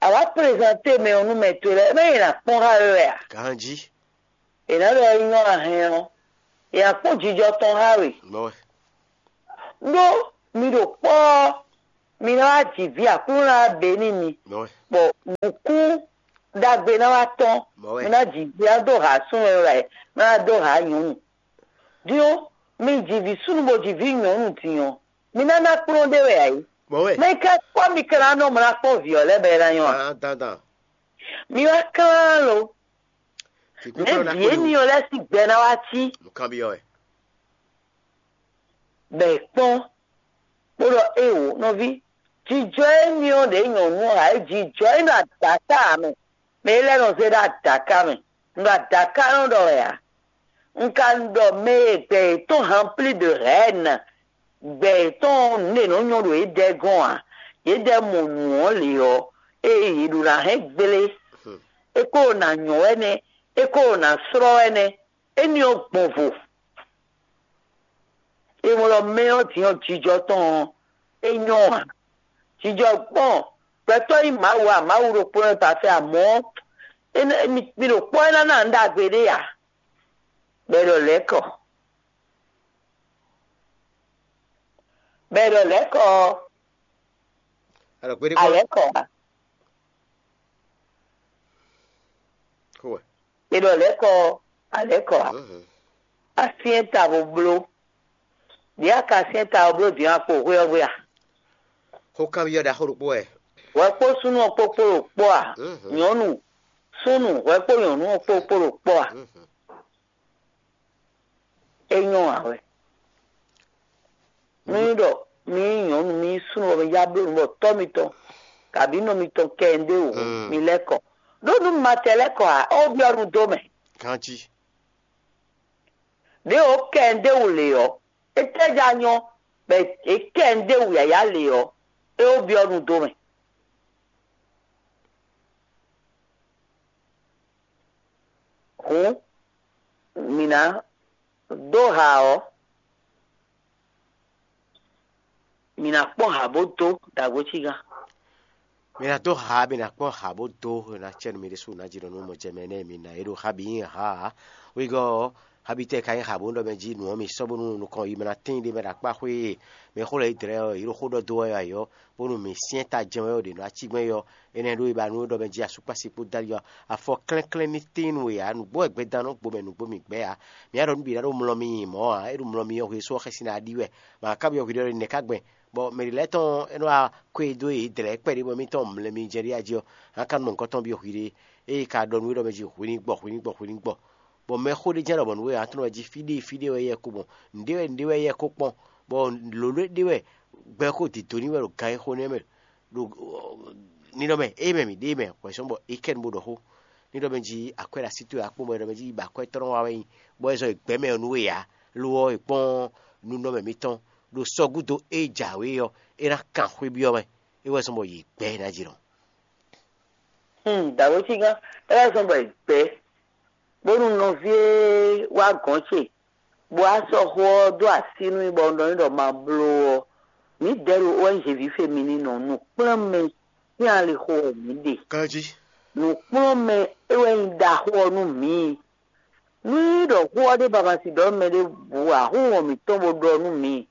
A wǎ prezanté mɛ ɔ́ nú mɛ towe lɛ́ɛ, mɛ è nǎ kpɔ́n xá we wɛ a? Ganjí. È nǎ ɖɔ é nyɔ́ a hɛn ɔ́, è nǎ kpɔ́n jijɔ tɔn xá we. Mɔ̌ wɛ. Ɖó mi ɖo kpɔ́ ɔ́, mi ná wá ji vǐ, Aklúnɔ ná wá bě n'i mi. Mɔ̌ wɛ. Bɔ nǔkún ɖagbe ná wá tɔ́n. Mɔ̌ wɛ. Mi ná ji vǐ ná dó ha súnnu e wɛ, ná wá dó ha nyɔ̌nu. Din ɔ́, mi ji vǐ súnnu bó ji vǐ nyɔ̌nu din ɔ́, mi ná ná kplɔ́n ɖé wɛ ǎ é. Mɔ̌ wɛ. Mɛ ka kpɔ́ mi ka ná nɔ mlá kpɔ́n vǐ ɔ́ lɛ́ɛ bɔ é ná nyɔ́ a? Dandan. Mi wá klán lo. Nɛ̌ vǐ énɛ́ ɔ́ lɛ́ɛ sín gbɛ ná wá cí? Nǔkanbyɔ́ wɛ. Bɔ è kpɔ́n, bó ɖɔ éeǒ nɔví, jijɔ émí ɔ́ ɖě nyɔ̌nu ɔ́ ǎ é, jijɔ é nɔ adǎká ǎ mɛ. Mɛ é lɛ́ɛ nɔ zé ɖó adǎká mɛ. Un ɖo adǎká nɔ ɖɔ wɛ ǎ. Un ka ɖɔ mɛ e gbɛ yětɔn hanplí de hɛ̌nna, gbɛ yětɔn nǔ ɖě nɔ nyɔ́ ɖo yědɛɛ gɔ́n ǎ. Yědɛɛ mɔ nǔ ɔ́ lě ɔ́, ée yě ɖo ná hɛn gblé, é ko ɖo ná nyɔ́ wɛ nɛ́, é ko ɖo ná slɔ́ wɛ nɛ́. Éní ɔ́ gbɔn vo. É mɔ ɖɔ mɛ ɔ́ din ɔ́, jijɔ tɔn ɔ́, é nyɔ́ ǎ. Jijɔ gbɔn gbɛtɔ́ nyí Mawu a, Mawu ɖokpó nɔ ta fɛ, amɔ̌ mi ɖo kpɔ́ é ná ná nǔ ɖagbe ɖé ǎ. Bɔ è ɖɔ lɛ̌kɔ. Bɔ è ɖɔ lɛ̌kɔ ɔ́, Alɔ gbéɖé kpɔ́n. Alɛ̌kɔ ǎ. Kó wɛ. È ɖɔ lɛ̌kɔ ɔ́, alɛ̌kɔ ǎ. Mhm. Asyɛ́n ta bó bló. Ɖě a ka syɛ́n ta ɔ́ bló din akpo hwé ɔ́ gbe a? Xó kanbyɔ́ ɖaxó ɖokpó wɛ. Hwɛ kpó súnnu ɔ́ kpó kpó ɖo kpɔ́ a? Mhm. Nyɔ̌nu súnnu hwɛ kpó nyɔ̌nu ɔ́ kpó kpó ɖo kpɔ́ a? Mhm. É nyɔ́ ǎ wɛ. Nú nyí ɖɔ mi nyí nyɔ̌nu, mi nyí súnnu bɔ mi já bló nǔ bɔ tɔ́ mitɔn kabǐ nɔ mitɔn kɛ ɛ ɖé wǒ, mi lɛ́ kɔ. Ɖó nú mi ma tɛ lɛ́ kɔ ǎ, é wó byɔ́ nu dó mɛ. Ganjí. Ɖěe wǒ kɛ ɛ ɖé wǔ lě ɔ́, étɛ́ já nyɔ́ bɔ è kɛ ɛ ɖé wǔ yǎyá lě ɔ́, é wó byɔ́ nu dó mɛ. Hǔn mǐ ná dó ha ɔ́, mǐ ná kpɔ́n ha bó dó ɖagbo cígán. Mi ná dó ha, mi ná kpɔ́n ha bó dó, mi ná cɛ nú mi ɖésú ná jí nɔ nú mɔ jɛ mɛ nɛ́ mi ná é ɖo ha bǐ nyi ha ǎ. Wegɔ́ ɔ́, ha bǐ tɛ ka nyí ha bó ɖɔ mɛ jí nǔ ɔ́ mi sɔ́ bónú nukɔn yi mɛ ná tíin ɖé mɛ ɖo akpá xwé e mɛ xó lɛ́ɛ yi dlɛ́ ɔ́, yě ɖo xó ɖɔ dó wɛ ǎ ɔ́, bónú mi syɛ́n ta jɛ́n wɛ ɔ́ ɖě nɔ ací gbɛ́n yi ɔ́, énɛ́ ɖó yi ba nú é ɖɔ mɛ jí asúkpási kpó dali ɔ́, afɔ klɛ́nklɛ́n ní tíin nú we ǎ, nǔgbó wɛ gbɛdan nɔ gbo mɛ nǔgbó mi gbɛ́ ǎ. Mi ǎ ɖɔ nú bǐ ná ɖó mlɔ mi nyi mɔ̌ ǎ, é ɖo mlɔ mi ɔ́ hwe só ɔ́ xɛsi ná ɖi wɛ. Mǎ ká byɔ́ hwi ɖɔ nɛ̌ ká gbɛn, bɔ mɛ ɖě lɛ́ɛ tɔn é nɔ wá kwé dó yě dlɛ̌ kpɛɖé bɔ émítɔn mlɛ mi jɛ ɖé ají ɔ́, hǎn ka nɔ mɔ nukɔn tɔn byɔ́ hwi ɖé. Ée ka ɖɔ nú we ɖɔ mɛ jí hwi ní gbɔ, hwi ní gbɔ, hwi ní gbɔ. Bɔ mɛxó ɖé jɛ́n ɖɔ mɔ̌ nú we ǎ, tlɔ́n wɛ jí fí ɖé fí ɖé wɛ yɛ ko mɔ, nǔɖé wɛ nǔɖé wɛ yɛ ko kpɔ́n, bɔ lǒ ɖé ɖé wɛ gbɛ ko dǐdó ní wɛ ɖo gan e xo nɛ́ mɛ ɖo ninɔ mɛ, ée mɛ mǐ ɖe mɛ hwɛ̌ sɔ́ bɔ é kɛ nu bó ɖɔ xó. Ní ɖɔ mɛ jí akwɛ́ ɖo así towe akpɔ́n bɔ é ɖɔ mɛ jí yi ba akwɛ́ tɔn wa wɛ nyi, bɔ é zɔ yi gbɛ̌ mɛ ɔ́ nú we ǎ, lo ɔ́, è kpɔ́n nunɔmɛ mitɔn ɖo sɔ́ gúdo e jǎwe ɔ́, é ná kan xwé byɔ́ mɛ, é wɛ zɔ́n bɔ yě gbɛ́ ná jí nɔ. Hmm, dǎwe cígán, é wɛ zɔ́n bɔ è gbɛ́, bónú nɔví e wá gɔ̌n ce, bó wá sɔ́ xó ɔ́ dó así nú mì bɔ un ɖɔ n'i ɖɔ ma bló ɔ́, mǐdɛɛ ɖo O N G ví fe mi ní nɔ nǔ kplɔ́n mɛ sín alixo wɛ mǐ ɖe. Ganjí. Nǔkplɔ́nmɛ é wɛ nyí ɖaxó ɔ́ nú mǐ. Nú nyí ɖɔ xó ɔ́ ɖé ba ma si ɖɔ mɛ ɖěbǔ ǎ, xó hɔn mǐtɔn bó ɖɔ nú mǐ.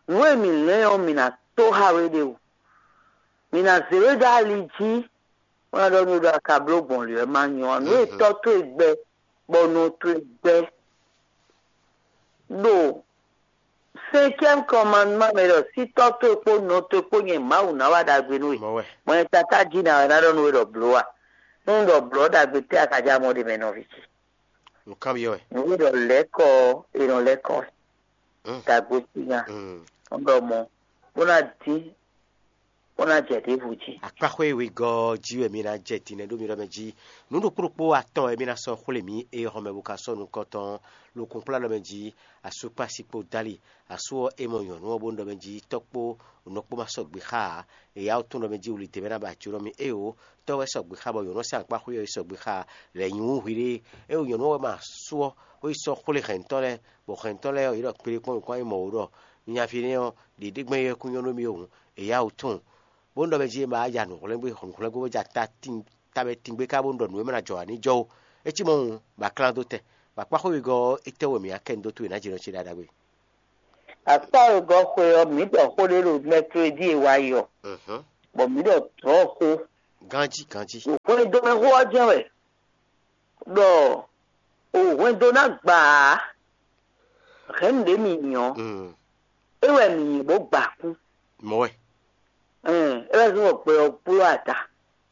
Nǔ e mǐ lɛ́n ɔ́, mǐ ná tó xá we ɖe o. Mǐ ná zě we dó ali jí, bó ná ɖɔ nú we ɖɔ a ka bló gbɔn lě wɛ ma nyɔ ǎ. Nǔ e tɔ́ towe gbɛ, bɔ nɔ towe gbɛ ɖo cinquième commandement mɛ ɖɔ sí tɔ́ towe kpó nɔ towe kpó nyɛ Mawu ná wa ɖagbe nú we. Mɔ̌ wɛ. Mɔ nyɛ tatá jí ná wɛ ná ɖɔ nú we ɖɔ blǒ a? Nú un ɖɔ blǒ ɔ́, ɖagbe tɛ́ a ka já mɔ ɖe mɛ nɔví ce? Nǔkanbyɔ́ wɛ. Nǔ e ɖɔ lɛ̌kɔ ɔ́, è nɔ lɛ́ kɔ dagbo sín nya. Un ɖɔ mɔ̌, bó ná dín bó ná jɛ ɖěbǔ jí. Akpáxwé wegɔ́ ɔ́ jí wɛ mi ná jɛ din nɛ́ ɖó mi ɖɔ mɛ jí. Nǔ ɖokpó ɖokpó atɔn wɛ mi ná sɔ́ xwlé mǐ é xɔ mɛ bo ka sɔ́ nukɔn tɔn. Lo kúnkplá ɖɔ mɛ jí, asú kpó asi kpó dó ali. Asú ɔ́, é mɔ nyɔ̌nu ɔ́ bó ɖɔ mɛ jí, tɔ́ kpó nɔ kpó ma sɔgbe xá ǎ. È yá wú tún ɖɔ mɛ jí wuli dě wɛ ná ba jǒnɔ mì éeǒ. Tɔ́ wɛ sɔgbe xá bɔ nyɔ̌nu ɔ́ sín akpáxwé ɔ́ yi sɔgbe xá ǎ. Lɛ̌ nyi wú hwiɖée. É wo nyɔ̌nu ɔ́ wɛ ma asú ɔ́, bó yi sɔ́ xwlé hɛ̌ntɔ́ lɛ́ɛ, bɔ hɛ̌ntɔ́ lɛ́ɛ ɔ́, yě ɖɔ kpéɖé kpɔ́n nǔkún ayí mɔ̌ wú ɖɔ: Nyaví énɛ́ ɔ́, ɖě ɖé gbɛ́n é wɛ kún nyɔ́ nú mì hǔn, è yá wǔ tunwun. Bónú ɖɔ mɛ jí é ma wá ya nǔhwlɛ́ngbé nǔhwlɛ́ngbó bó ja ta tíin tamɛ tíngbé ká bónú ɖɔ nǔ e mɛ ná jɔ ǎ ní jɔ ó. É cí mɔ̌ hǔn, bɔ a klán dó tɛn, bɔ akpáxwé wegɔ́ ɔ́, étɛ́ wɛ mǐ ná kɛ nu dó towe nǎ jǐnɔ ce ɖaɖa gbe? Akpá wegɔ́ xwe ɔ́, mǐ ɖɔ xó ɖé ɖo mɛklódi e wá yi ɔ́, bɔ mǐ ɖɔ dlɔ̌ xó. Ganjí ganjí. Hwɛndo mɛ xó ɔ́ jɛ́n wɛ ɖɔ o hwɛndo ná gbǎ ǎ. Hɛ̌nnu ɖě mi nyi ɔ́, é wɛ mi nyi bó gba kú. Mɔ̌ wɛ. Ɛn, é wɛ zɔ́n bɔ gbɛ ɔ́ kplɔ́ ada.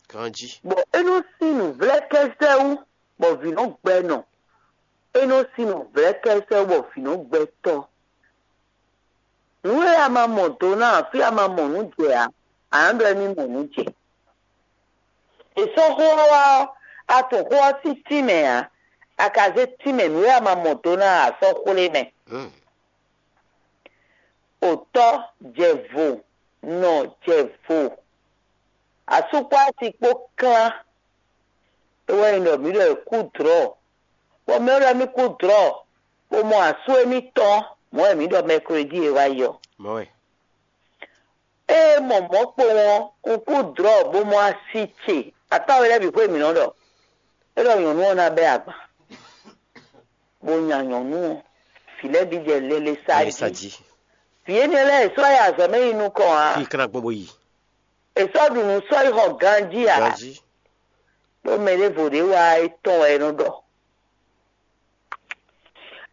Ganjí. Bɔ é nɔ sín nǔvlɛ́kɛ́sɛ́ wú, bɔ vǐ nɔ gbɛ nɔ. É nɔ sín nǔvlɛ́kɛ́sɛ́ wú, bɔ vǐ nɔ gbɛ tɔ́. Nǔ e a ma mɔ do ná ǎ, fí a ma mɔ nǔ jɛ ǎ, a nǎ ɖɔ émí mɔ nǔ jɛ. È sɔ́ xó ɔ́ wá ɔ́, a tunwun xó ɔ́ sín tínmɛ ǎ, a ka zé tínmɛ nǔ e a ma mɔ do ná ǎ sɔ́ xwlé mɛ. Otɔ́ jɛ vo, nɔ jɛ vo, asú kpó asi kpó klán. É wɛ nyí ɖɔ mǐ ɖɔ è kú dlɔ̌, bɔ mɛ e ɖɔ émí kú dlɔ̌, bó mɔ asú émítɔn, mɔ̌ wɛ mǐ ɖɔ mɛklódi e wá yi ɔ́. Mɔ̌ wɛ. Ée mɔ mɔ̌ kpowun ɔ́, un kú dlɔ̌ bó mɔ asi ce. Atáwe lɛ́ɛ bǐ xwé mǐ nɔ ɖɔ. É ɖɔ nyɔ̌nu ɔ́ ná bɛ́ agban, bó nya nyɔ̌nu ɔ́, vǐ lɛ́ɛ bǐ jɛ lɛlɛ sa Sa jí. Jí. Vǐ énɛ́ lɛ́ɛ è sɔ́ yi azɔ̌ mɛ yi nukɔn ǎ. Fí kán ná gbɔn bó yi. È sɔ́ ɖu nǔ sɔ́ yi xɔ ganjí ǎ. Ganjí. Ɖó mɛ ɖěvo ɖě wá é tɔn wɛ é nɔ ɖɔ.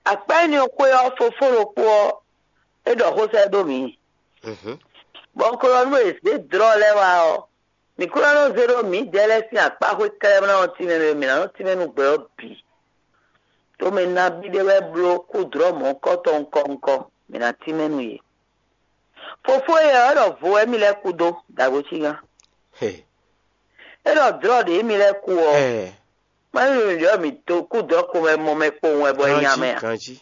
Akpá énɛ́ ɔ́ xwé ɔ́, fofó ɖokpó ɔ́, é ɖɔ xó sɛ́ dó mǐ. Mhm. Bɔ un ko ɖɔ nú è zě dlɔ̌ lɛ́ɛ wá ɔ́, mǐ kún ná nɔ zé ɖó mǐdɛɛ lɛ́ɛ sín akpá xwé kɛ́ɖɛ́ bó ná nɔ tínmɛ mɛ, mǐ ná nɔ tínmɛ nú gbɛ ɔ́ bǐ. Tomɛ nabí ɖé wɛ bló kú dlɔ̌ mɔ̌hunkɔtɔn ŋkɔ ŋkɔ, mǐ ná tínmɛ nú yě. Fofó e ɔ́ ɖɔ vo wɛ mì lɛ́ kú dó, dǎgbó cígán. He. É ɖɔ dlɔ̌ ɖě mì lɛ́ kú ɔ́, Ɛɛ, má nyí nǔɖé ɔ́ mǐ dó kú dɔ̌ ko mɛ mɔ mɛ kpowun wɛ bɔ é nya mɛ ǎ. Ganjí.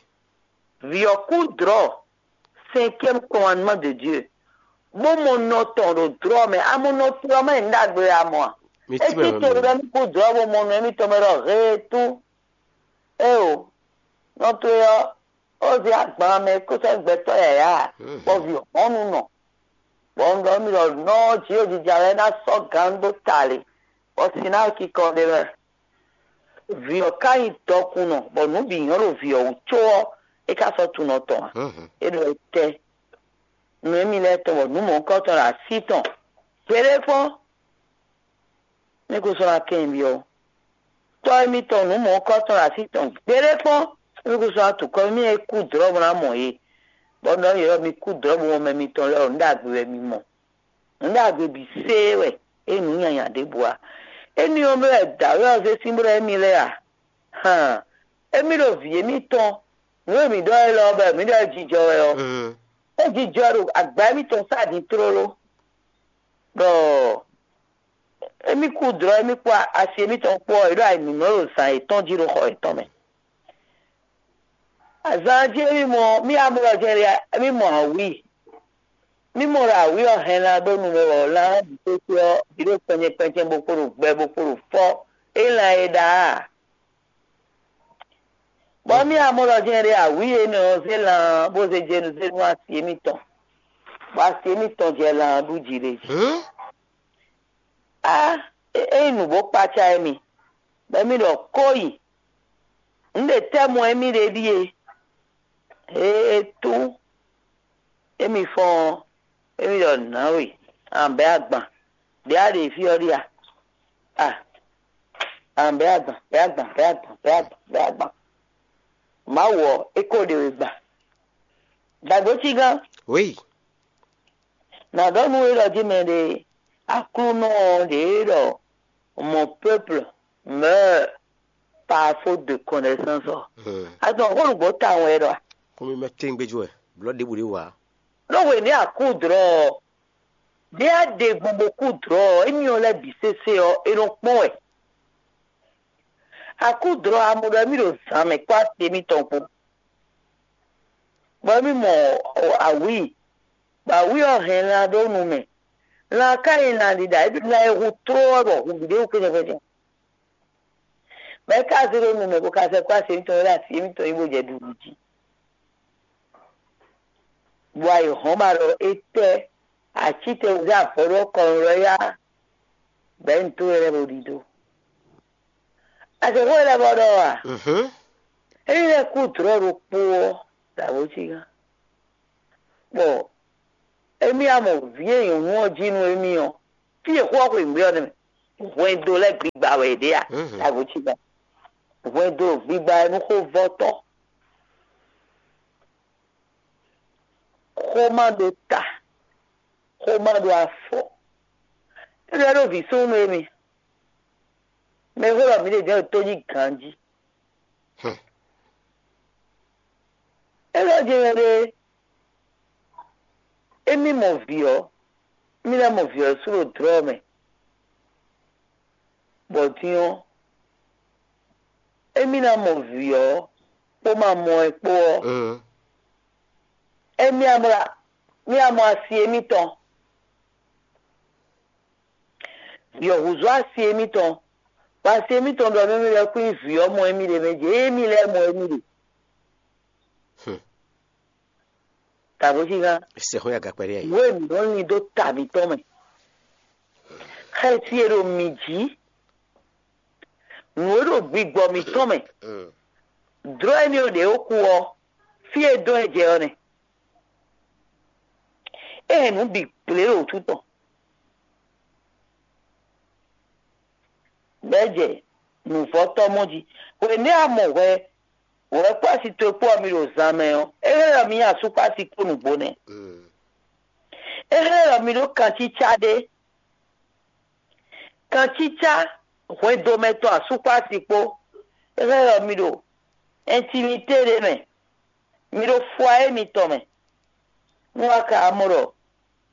Vǐ ɔ́ kú dlɔ̌, cinquième commandement de Dieu, bó mɔ nɔ tɔn ɖo dlɔ̌ mɛ. A mɔ nɔ tɔn mɛ nǔ ɖagbe wɛ a mɔ a? Mi É tínmɛ cí wɛ to mi ɖɔ ní kú dlɔ̌ bó mɔ nɔ émítɔn mɛ ɖɔ heetú. Éeǒ, nɔ towe ɔ́, ó zé agban mɛ kó sɛ́ gbɛtɔ́ yǎyá, bɔ vǐ ɔ́ hɔn nú nɔ. Bɔ un ɖɔ nú mi ɖɔ nɔ ɔ́, jǐ ɖo jija wɛ é ná sɔ́ gǎn dó ta lě, bɔ sin ná kikɔ ɖ'é mɛ. Vǐ ɔ́ ka nyí dɔkunnɔ, bɔ nǔ bǐ nyɔ́ ɖo vǐ ɔ́ wú có ɔ́, é ka sɔ́ tunɔ tɔn ǎ. É ɖɔ étɛ́? Nǔ émí lɛ́ɛ tɔn, bɔ nǔ mɔ̌hunkɔtɔn ɖo así tɔn. Gbeɖé kpɔ́n, mí kún sɔ́ ná kɛn byɔ́. Tɔ́ émítɔn nǔ mɔ̌hunkɔtɔn ɖo así tɔn gbeɖé kpɔ́n, mí kún sɔ́ ná tukɔ mí e kú dlɔ̌ bó ná mɔ yě, bɔ nɔ yě ɖɔ mi kú dlɔ̌ bó mɔ mɛ mitɔn lɛ́ɛ ɔ́, nǔ ɖagbe wɛ mi mɔ. Nǔ ɖagbe bǐ séé wɛ, é nyí nǔ nyanya ɖěbǔ ǎ. Éní ɔ́ mɛ wɛ dǎwe ɔ́ zé sín bó ɖɔ émí lɛ́ɛ a? Han, émí ɖo vǐ émítɔn, nǔ e mǐ ɖɔ élɔ́ ɔ́, bɔ mǐ ɖɔ é jijɔ wɛ ɔ́, é jijɔ ɖo agba émítɔn sá din tlóló, bɔ émí kú dlɔ̌ émí kpó asi émítɔn kpó ɔ́, è ɖo ayǐmǐmlɔ́ ɖo zǎn yětɔn jí ɖo xɔ yětɔn mɛ. Azǎn jí émí mɔ mí amlɔ jɛ́n ɖe émí mɔ awǐ. Mí mɔ ɖɔ awǐ ɔ́ hɛn lan ɖó nu mɛ bɔ lan ɔ́ bǐ kpékpé ɔ́ bǐ ɖo kpɛnjɛ kpɛnjɛ bó kpo ɖo gbɛ bó kpo ɖo fɔ́ é lan e ɖa a? Bɔ mí amlɔ jɛ́n ɖe awǐ énɛ́ ɔ́ zé lan bó zé jenu zé nú asi émítɔn, bɔ asi émítɔn jɛ lan ɖu jí ɖé jí. Á, é nyí nǔ bó kpácá émí, bɔ émí ɖɔ kó yi. Nǔ ɖe tɛ́ mɔ émí ɖe ɖíe, é tú émí fɔ́n ɔ́, émí ɖɔ nǎwe, an bɛ̌ agban, ɖě a ɖe fí ɔ́ ɖíe a? A, an bɛ̌ agban, bɛ̌ agban, bɛ̌ agban, bɛ̌ agban, bɛ̌ agban. Mawu ɔ́, é ko ɖe we gban. Dǎgbó cígán. Oui. Nǎ ɖɔ nú we ɖɔ jí mɛ ɖé, Aklúnɔ ɔ́ ɖě ɖɔ mon peuple meurt par faute de connaissance ɔ́. Azɔn xó nǔgbó tawun wɛ ɖɔ a? Xómimɛ tɛ́ngbéjú wɛ, blɔ̌ ɖěbǔ ɖé wǎ. Ɖó hwenu e a kú dlɔ̌ ɔ́, Ɖě a ɖe gbɔn bó kú dlɔ̌ ɔ́, émí ɔ́ lɛ́ɛ bǐ sésé ɔ́, é nɔ kpɔ́n wɛ. A kú dlɔ̌ ɔ́, a mɔ ɖɔ émí ɖo zǎn mɛ kpó asi émítɔn kpó, bɔ émí mɔ awǐi, bɔ awǐi ɔ́ hɛn lan ɖó nu mɛ. Lan ka nyí lan ɖiɖa, é ɖo lan e hu tló ɔ́ bɔ hun bǐ ɖé hu kpɛ́nɛ́. Mɛ̌ ka zé ɖó nu mɛ bó ka sɛ́ kpó asi émítɔn e ɖo asi émítɔn yi bó jɛ ɖuɖu jí? Bɔ ayǐ hɔ́n ba ɖɔ étɛ́ acítɛn zé avɔ ɖó kɔnu lɔ yá bɛ̌ nu tó lɛ́ɛ bó ɖidó. Azɛ̌xó lɛ́ɛ bɔ ɖɔ a? Ényí lɛ́ kú dlɔ̌ ɖokpó ɔ́, dǎwe cí gán. Bɔ émí a mɔ vǐ e nyɔ̌nu ɔ́ jí nú émí ɔ́, fí e xó ɔ́ xweyǐgbe ɔ́ nɛ́ mɛ. Hwɛndo lɛ́ɛ gbigba wɛ è ɖe a? Dǎwe cí gán. Hwɛndo gbigba wɛ nú xóvɔ́tɔ́. Xó ma ɖo ta, xó ma ɖo afɔ. É ɖɔ ɖó vǐ súnnu émi. Mɛ e xó ɖɔ mǐ ɖe jɛ́n ɖo tó jí ganjí. É ɖɔ jɛ́n ɖé, émí mɔ vǐ ɔ́, émí ná mɔ vǐ ɔ́ sú ɖo dlɔ̌ mɛ. Bɔ din ɔ́, émí ná mɔ vǐ ɔ́ kpó ma mɔ ɛ kpó ɔ́, émí ná mɔ, mí ná mɔ asi émítɔn. Vǐ ɔ́ húzú asi émítɔn, bɔ asi émítɔn ɖɔ nú émí lɛ́ɛ kún nyí vǐ ɔ́ mɔ émí ɖe mɛ jɛ émí lɛ́ɛ mɔ émí ɖe. Tàbó cí gán. Sɛxó ya gakpɛɖé ayi. Nǔ e mǐ nɔ lin dó ta mǐtɔn mɛ, xɛsi e ɖo mǐ jí, nǔ e ɖo gbigbɔ mǐtɔn mɛ, dlɔ́ énɛ́ ɔ́ ɖě ó kú ɔ́, fí e dɔn ɛ jɛ ɔ́ nɛ́. É hɛn nǔ bǐ gblě ɖo wútu tɔn, bɔ é jɛ nǔvɔ́tɔ́ mɔ jí. Hwenɛ́ a mɔ hwɛ, hwɛ kpó asi towe kpó ɔ́ mi ɖo zan mɛ ɔ́, é hɛn ɖɔ mi nyi asú kpó asi kpó nǔgbó nɛ́. É hɛn ɖɔ mi ɖó kancícá ɖé. Kancícá hwɛndo mɛ tɔn asú kpó asi kpó, é hɛn ɖɔ mi ɖo ɛntimité ɖé mɛ, mi ɖo fwa émitɔn mɛ. Nú a ka mɔ ɖɔ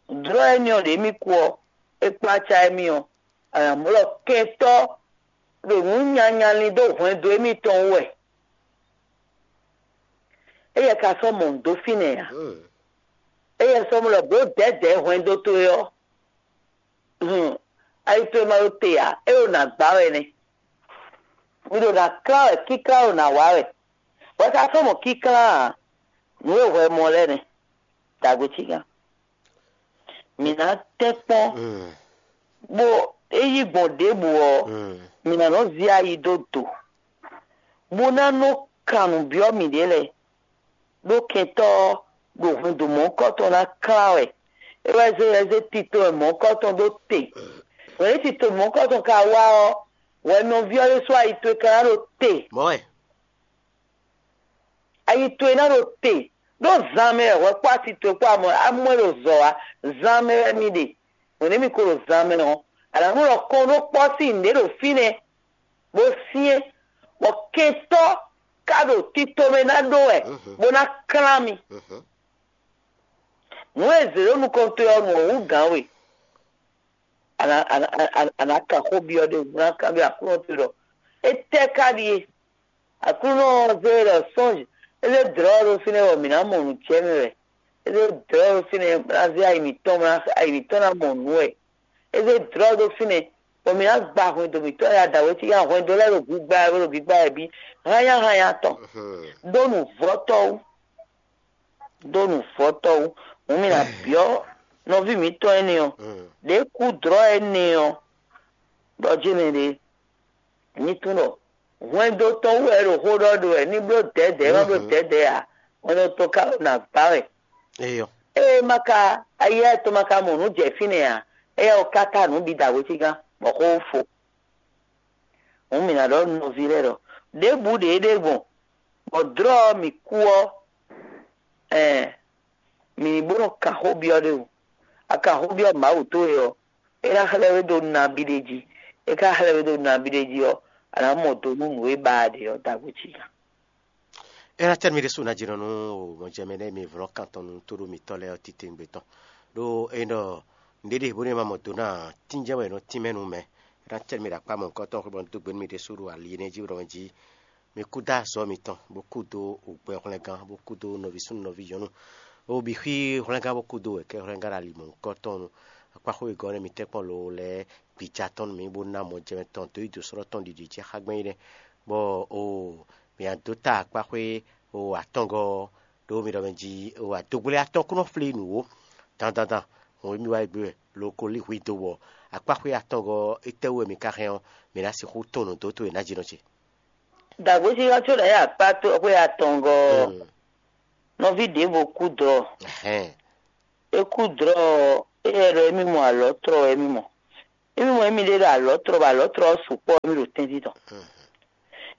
dlɔ́ émí ɔ́ ɖě mì kú ɔ́, é kplá acá émí ɔ́, a nǎ mɔ ɖɔ kɛntɔ́ ɖo nǔ nyanya lin dó hwɛndo émítɔn wú wɛ. Éyɛ́ ka sɔ́ mɔ nǔ dó fínɛ́ ǎ. Éyɛ́ sɔ́ mɔ ɖɔ bǒ dɛ̌dɛ̌ hwɛndo towe ɔ́, hun, ayi towe ma ɖo te ǎ, é ɖo nǎ gbá wɛ nɛ́. Mi ɖo nǎ klán wɛ, kíklán ɖo nǎ wa wɛ. Hwɛ ka sɔ́ mɔ kíklán ǎ, nǔ e hwɛ mɔ lɛ́ɛ nɛ́. Dǎgbé cí gán. Mǐ ná tɛ́nkpɔ́n, bó é yí gbɔn ɖěbǔ ɔ́, mǐ ná nɔ zí ayi dó do, bó ná nɔ kan nǔ byɔ́ mǐɖée lɛ́ɛ, ɖó kɛntɔ́ ɔ́ ɖo hwɛndo mɔ̌hunkɔtɔn ná klán wɛ. É wɛ zé wɛ zé tito e mɔ̌hunkɔtɔn ɖó te. Hwɛ̌n e tito mɔ̌hunkɔtɔn ka wá ɔ́, hwɛ nɔví ɔ́ ɖésú ayi towe ka ná ɖo te. Mɔ̌ wɛ. Ayi towe ná ɖo te, ɖó zan mɛ wɛ hwɛ kpó asi towe kpó amɔ amɔ e ɖo zɔ wá. Zan mɛ wɛ mi ɖe. Hwɛ̌n e mi ko ɖo zan mɛ ɔ́, a nǎ nɔ ɖɔ kɔn ɖó kpɔ́ sín nǔɖé ɖo fínɛ́, bó syɛ́n, bɔ kɛntɔ́ ka ɖo tito mɛ ná ɖó wɛ, bó ná klán mi. Nǔ e zě ɖo nukɔn towe ɔ́, nǔ ɔ́ hú gǎn we. A nǎ a nǎ a nǎ a nǎ kan xó byɔ́ ɖé, a nǎ kanbyɔ́ Aklúnɔ towe ɖɔ étɛ́ ka ɖíe? Aklúnɔ ɔ́ zé we ɖɔ sɔ́nj, é zé dlɔ̌ ɔ́ ɖó fínɛ́ bɔ mǐ ná mɔ nǔ jɛ mɛ wɛ. É zé dlɔ̌ ɔ́ ɖó fínɛ́ bó ná zé ayi mǐtɔn, bó ná ayi mǐtɔn ná mɔ nǔ wɛ. É zé dlɔ̌ ɔ́ ɖó fínɛ́ bɔ mǐ ná gba hwɛndo mǐtɔn ya dǎwe cí ya hwɛndo lɛ́ɛ ɖo gbigba wɛ, bó ɖo gbigba wɛ bǐ hányáhányá tɔn. Ɖó nǔvɔ́tɔ́ wú, ɖó nǔvɔ́tɔ́ wú. Hǔn mì nǎ byɔ́ nɔví mǐtɔn énɛ́ ɔ́, ɖě kú dlɔ̌ énɛ́ ɔ́, ɖɔ jɛ́n mɛ ɖě ní tunwun ɖɔ hwɛndo tɔn wú wɛ é ɖo xó ɖɔ ɖo wɛ, ní bló dɛ̌dɛ̌, é má bló dɛ̌dɛ̌ ǎ, hwɛndo tɔn ka ɖo nǎ gbá wɛ. Eyɔ. Ée ma ka ayɛ́ tɔn ma ka mɔ nǔ jɛ fínɛ́ ǎ, éyɛ́ ɔ́ ka ta nǔ bǐ dǎwe cí gán, bɔ xó fo. Hǔn mǐ ná ɖɔ nú nɔví lɛ́ɛ ɖɔ ɖěbǔ ɖě é ɖe gbɔn, bɔ dlɔ̌ ɔ́ mǐ kú ɔ́, ɛɛ, mǐ ní bó nɔ kan xó byɔ́ ɖé wú. A kan xó byɔ́ Mawu towe ɔ́, é ná xlɛ́ we ɖó nabí ɖé jí. É ka xlɛ́ we ɖó nabí ɖé jí ɔ́, a nǎ mɔ do nú nǔ e ba a ɖe ɔ́ dǎgbé cí gán. É ná tɛ́ nú mì ɖésú ná jínɔ nú mɔjɛmɛ nɛ́ mi vlɔ́ kan tɔn nú tóɖó mǐtɔn lɛ́ɛ ɔ́ titewungbe tɔn. Ɖó é ɖɔ Nǔɖé ɖe bónú è ma mɔ do ná ǎ, tínjɛ́n wɛ è nɔ tínmɛ nú mɛ. É ná cɛ nú mi ɖo akpá mɔ̌hunkɔtɔn xwé bɔ un dó gbe nú mi ɖésú ɖo ali énɛ́ jí ɖɔ mɛ jí. Mi kúdó azɔ̌ mitɔn, bó kúdó hwlɛngán, bó kúdó nɔví súnnu nɔví nyɔ̌nu. Bó bǐ xwí hwlɛngán bó kúdó wɛ̌kɛ́ hwlɛngán ɖo ali mɔ̌hunkɔtɔn nú akpá xwé gɔ́ nɛ́ mitɛ́ kpɔ́n lo lɛ́ɛ gbica tɔn nú mǐ, bó ná mɔjɛmɛ tɔn dǒ yi dǒ sɔ́ tɔn ɖiɖi jí xá gbɛn é nɛ́. Bɔ oo, mǐ ná dó ta akpá xwé oo atɔngɔ́ ɔ́, ɖó mi ɖɔ mɛ jí oo adogblé atɔn kún nɔ flí nǔ ó. Dandandan, hɔn émí wá yi gbé wɛ, lo ko lí hwi dó wɔ akpá xwé atɔngɔ́ ɔ́, étɛ́wú wɛ mi ka hɛn ɔ́, mi ná sixú tɔn nǔ dó towe nǎjínɔ ce. Dǎgbéjínjɔ́n có ɖo yě akpá tó xwé atɔngɔ́ ɔ́, nɔví ɖěvo kú dɔ̌. Ɛhɛn. É kú dlɔ́ ɔ́, éyɛ́ ɖɔ émí mɔ alɔ̌tlɔ wɛ émí mɔ. Émí mɔ émí ɖe ɖo alɔ̌tlɔ bɔ alɔ̌tlɔ ɔ́ sukpɔ́ émí ɖo tɛ́ntin tɔn.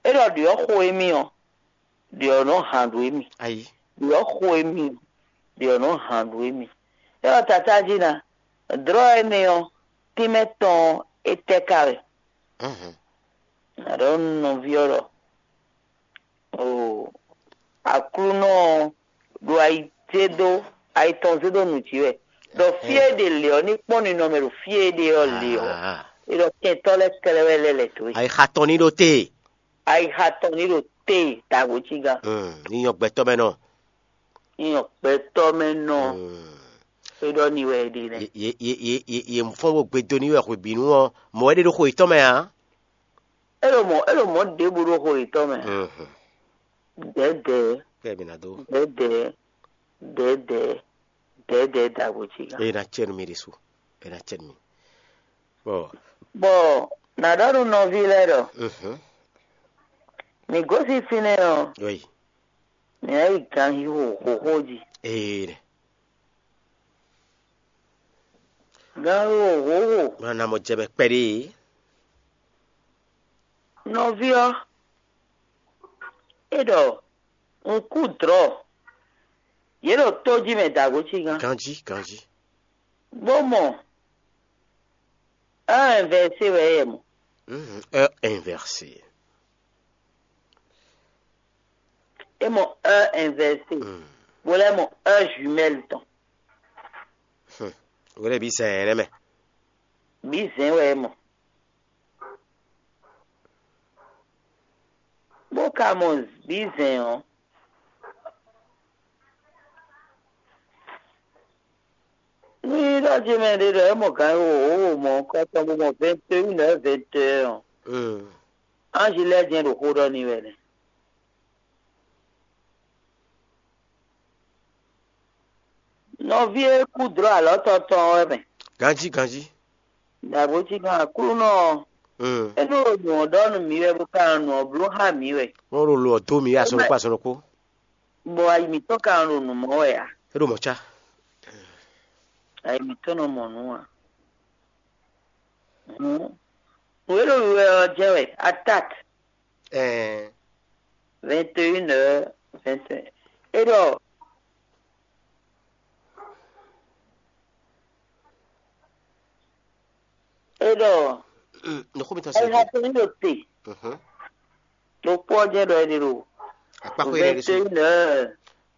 É ɖɔ ɖyɔ̌ xo émí ɔ́, ɖyɔ̌ nɔ han ɖo émí. Ayí. Ɖyɔ̌ xo émí ɔ́, ɖyɔ̌ nɔ han ɖo émí. É ɖɔ tatá jí ná, dlɔ́ énɛ́ ɔ́, tínmɛ tɔn ɔ́, é tɛ́ ka wɛ? Nǎ ɖɔ nú nɔví ɔ́ ɖɔ: Oo, Aklúnɔ ɔ́ ɖo ayi zé dó ayi tɔn zé dó nǔ jí wɛ, ɖɔ fí e ɖe lě ɔ́ ní kpɔ́n ninɔmɛ ɖo fí e é ɖe ɔ́ lě ɔ́, é ɖɔ kɛntɔ́ lɛ́ɛ kɛ́ɖɛ́ wɛ lɛ́ lɛ̌ dó e. Ayixa tɔn ní ɖo te. Ayixa tɔn ní ɖo te dǎgbó cí gán. Ní nyɔ gbɛtɔ́ mɛ nɔ. Ní nyɔ gbɛtɔ́ mɛ nɔ. É ɖɔ ní wɛ é ɖe nɛ́. Yě fɔ́n bó gbe do ní wɛ hwebǐnu ɔ́, mɔ̌ wɛ ɖe ɖo xo yětɔn mɛ ǎ. É ɖo mɔ̌ é ɖo mɔ̌ ɖěbǔ ɖo xo yětɔn mɛ. Dɛ̌dɛ̌. Kpɛ́ mi ná dó. Dɛ̌dɛ̌, dɛ̌dɛ̌, dɛ̌dɛ̌ dǎgbó cí gán. Eye ná cɛ nú mi ɖésú. Eye ná cɛ nú mi. Bɔ Bɔ nǎ ɖɔ nú nɔví lɛ́ɛ ɖɔ: Mǐ gosín fínɛ́ ɔ́, oui. Mǐ ná yi ganxixo xóxó jí. Ee nɛ. Ganxixo xóxó. Má ná mɔ jɛ mɛ kpɛɖé. Nɔví ɔ́, é ɖɔ un kú dlɔ̌. Yě ɖo tó jí mɛ dǎgó cí gán. Ganjí, ganjí. Bó mɔ heure inversée wɛ é mɔ. Mhm, heure inversée. É mɔ heure inversée. Mm. Bó lɛ́ mɔ heure jumelle tɔn. Hmm. Wé lɛ́ bǐ zɛ̌n ɛ nɛ́ mɛ. Bǐ zɛ̌n wɛ é mɔ. Bó ka mɔ bǐ zɛ̌n ɔ́, ní ɖɔ jí mɛ ɖé ɖɔ é mɔ gǎn e wǒ wǒ mɔ kɔ́tɔn bó mɔ vingt et une heures vingt et un ɔ́, anji lɛ́ɛ jɛ́n ɖo xó ɖɔ n'i wɛ nɛ́. Nɔví e kú dlɔ́ alɔ̌ tɔn tɔn ɔ́ wɛ mɛ. Ganjí, ganjí. Dǎgbó cí kan Aklúnɔ ɔ́, é nɔ ɖo nǔ ɔ́ ɖɔ nú mǐ wɛ, bó ka nɔ nǔ ɔ́ bló xá mǐ wɛ. Wọ́n ɖo lo ɔ́ dó mǐ wɛ azɔn ɖokpó azɔn ɖokpó. Bɔ ayi mǐtɔn ka nɔ ɖo nǔ mɔ wɛ ǎ. É ɖo mɔ̌ cá. Ayi mǐtɔn nɔ mɔ nǔ ǎ. Hǔn, nǔ e ɖo wiwa ɔ́ jɛ́n wɛ, atat. Ɛɛ. Vingt et une heures, vingt et un. É ɖɔ é ɖɔ Mm, nɔxɔ mi tɔn sɛ. Ayixa tɔn ní ɖo te. Mhm. Ɖokpó ɔ́ jɛ́n ɖɔ é ɖe ɖo Akpáxwé rɛ ɖésú. Vingt et une heures,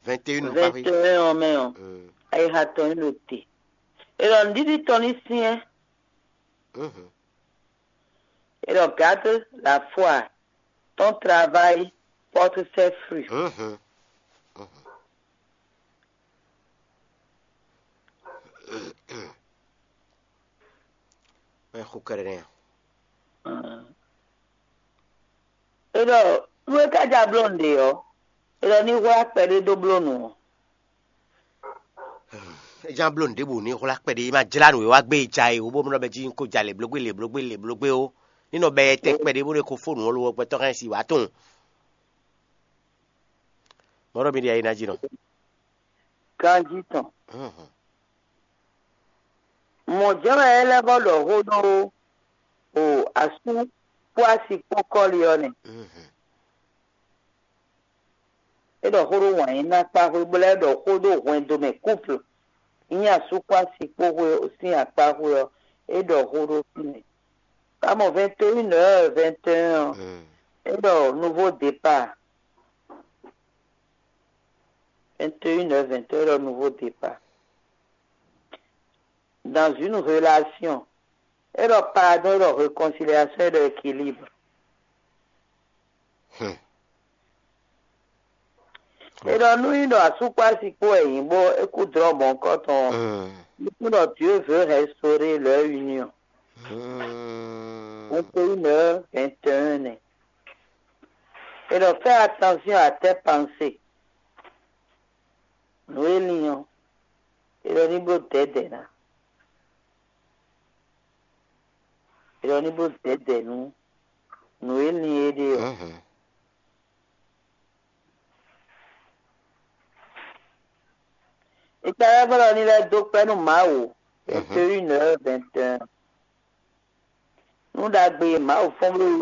Vingt et une akpáxwé. Vingt et un ɔ́ mɛ ɔ́, Mm. Ayixa tɔn ní ɖo te. É ɖɔ nǔɖiɖi tɔn ní syɛ́n. Mhm. Et regarde la foi, ton travail porte ses fruits. Mhm. Mhm. Mɛ xo kɛɖɛ nɛ. É ɖɔ nú é ka ja bló nǔɖé ɔ́, é ɖɔ ní hwlá kpɛɖé dó bló nǔ ɔ́. É ján bló nǔɖé bǔ ní hwlá kpɛɖé, é ma jlá nǔ e wá gbé e ja e wǒ bó nɔ bɛ jí ko ja lě blógbé lě blógbé lě blógbé ó. Ní nɔ bɛ tɛ kpɛɖé bó ɖe ko fó nǔ ɔ́ lo ɔ́ gbɛtɔ́ hɛn si wǎ tunwun. Mɔ̌ ɖɔ mi ɖi ayi ná jí nɔ. Ganjí tɔn. Mɔ̌ jɛ́n wɛ é lɛ́ vɔ́ ɖɔ xó ɖó o asú kpó asi kpó kɔ́li ɔ́ nɛ́. É ɖɔ xó ɖó wǎn yí ná kpá xwé bó lɛ́ ɖɔ xó ɖó hwɛndo mɛ kúpl. Nyí asú kpó asi kpó xwé sín akpá xwé ɔ́, é ɖɔ xó ɖó fínɛ́. Ka mɔ vingt et une heures vingt et un ɔ́, é ɖɔ nouveau départ. Vingt et une heures vingt et un, é ɖɔ nouveau départ. dans une relation. É ɖɔ pardon, é ɖɔ réconciliation, é ɖɔ équilibre. Hmm. É ɖɔ nú nyí ɖɔ asú kpó asi kpó wɛ nyí bó é kú dlɔ́ mɔ̌hunkɔtɔn ɔ́, Hmm. é kú ɖɔ Dieu veut restaurer leur union. Hmm. Vingt et une heures vingt et un nɛ. É ɖɔ fais attention à tes pensées. Nǔ e lin ɔ́, é ɖɔ ní bló dɛ̌dɛ̌ ná. É ɖɔ ní bló dɛ̌dɛ̌ nú nǔ e lin é ɖe ɔ́. Mhm. Ìtàlẹ́gbọ́n ní lɛ́ dó kpɛ́ nú Mawu. Vingt et une heures vingt et un. Nú ɖagbe e Mawu fɔ́n bló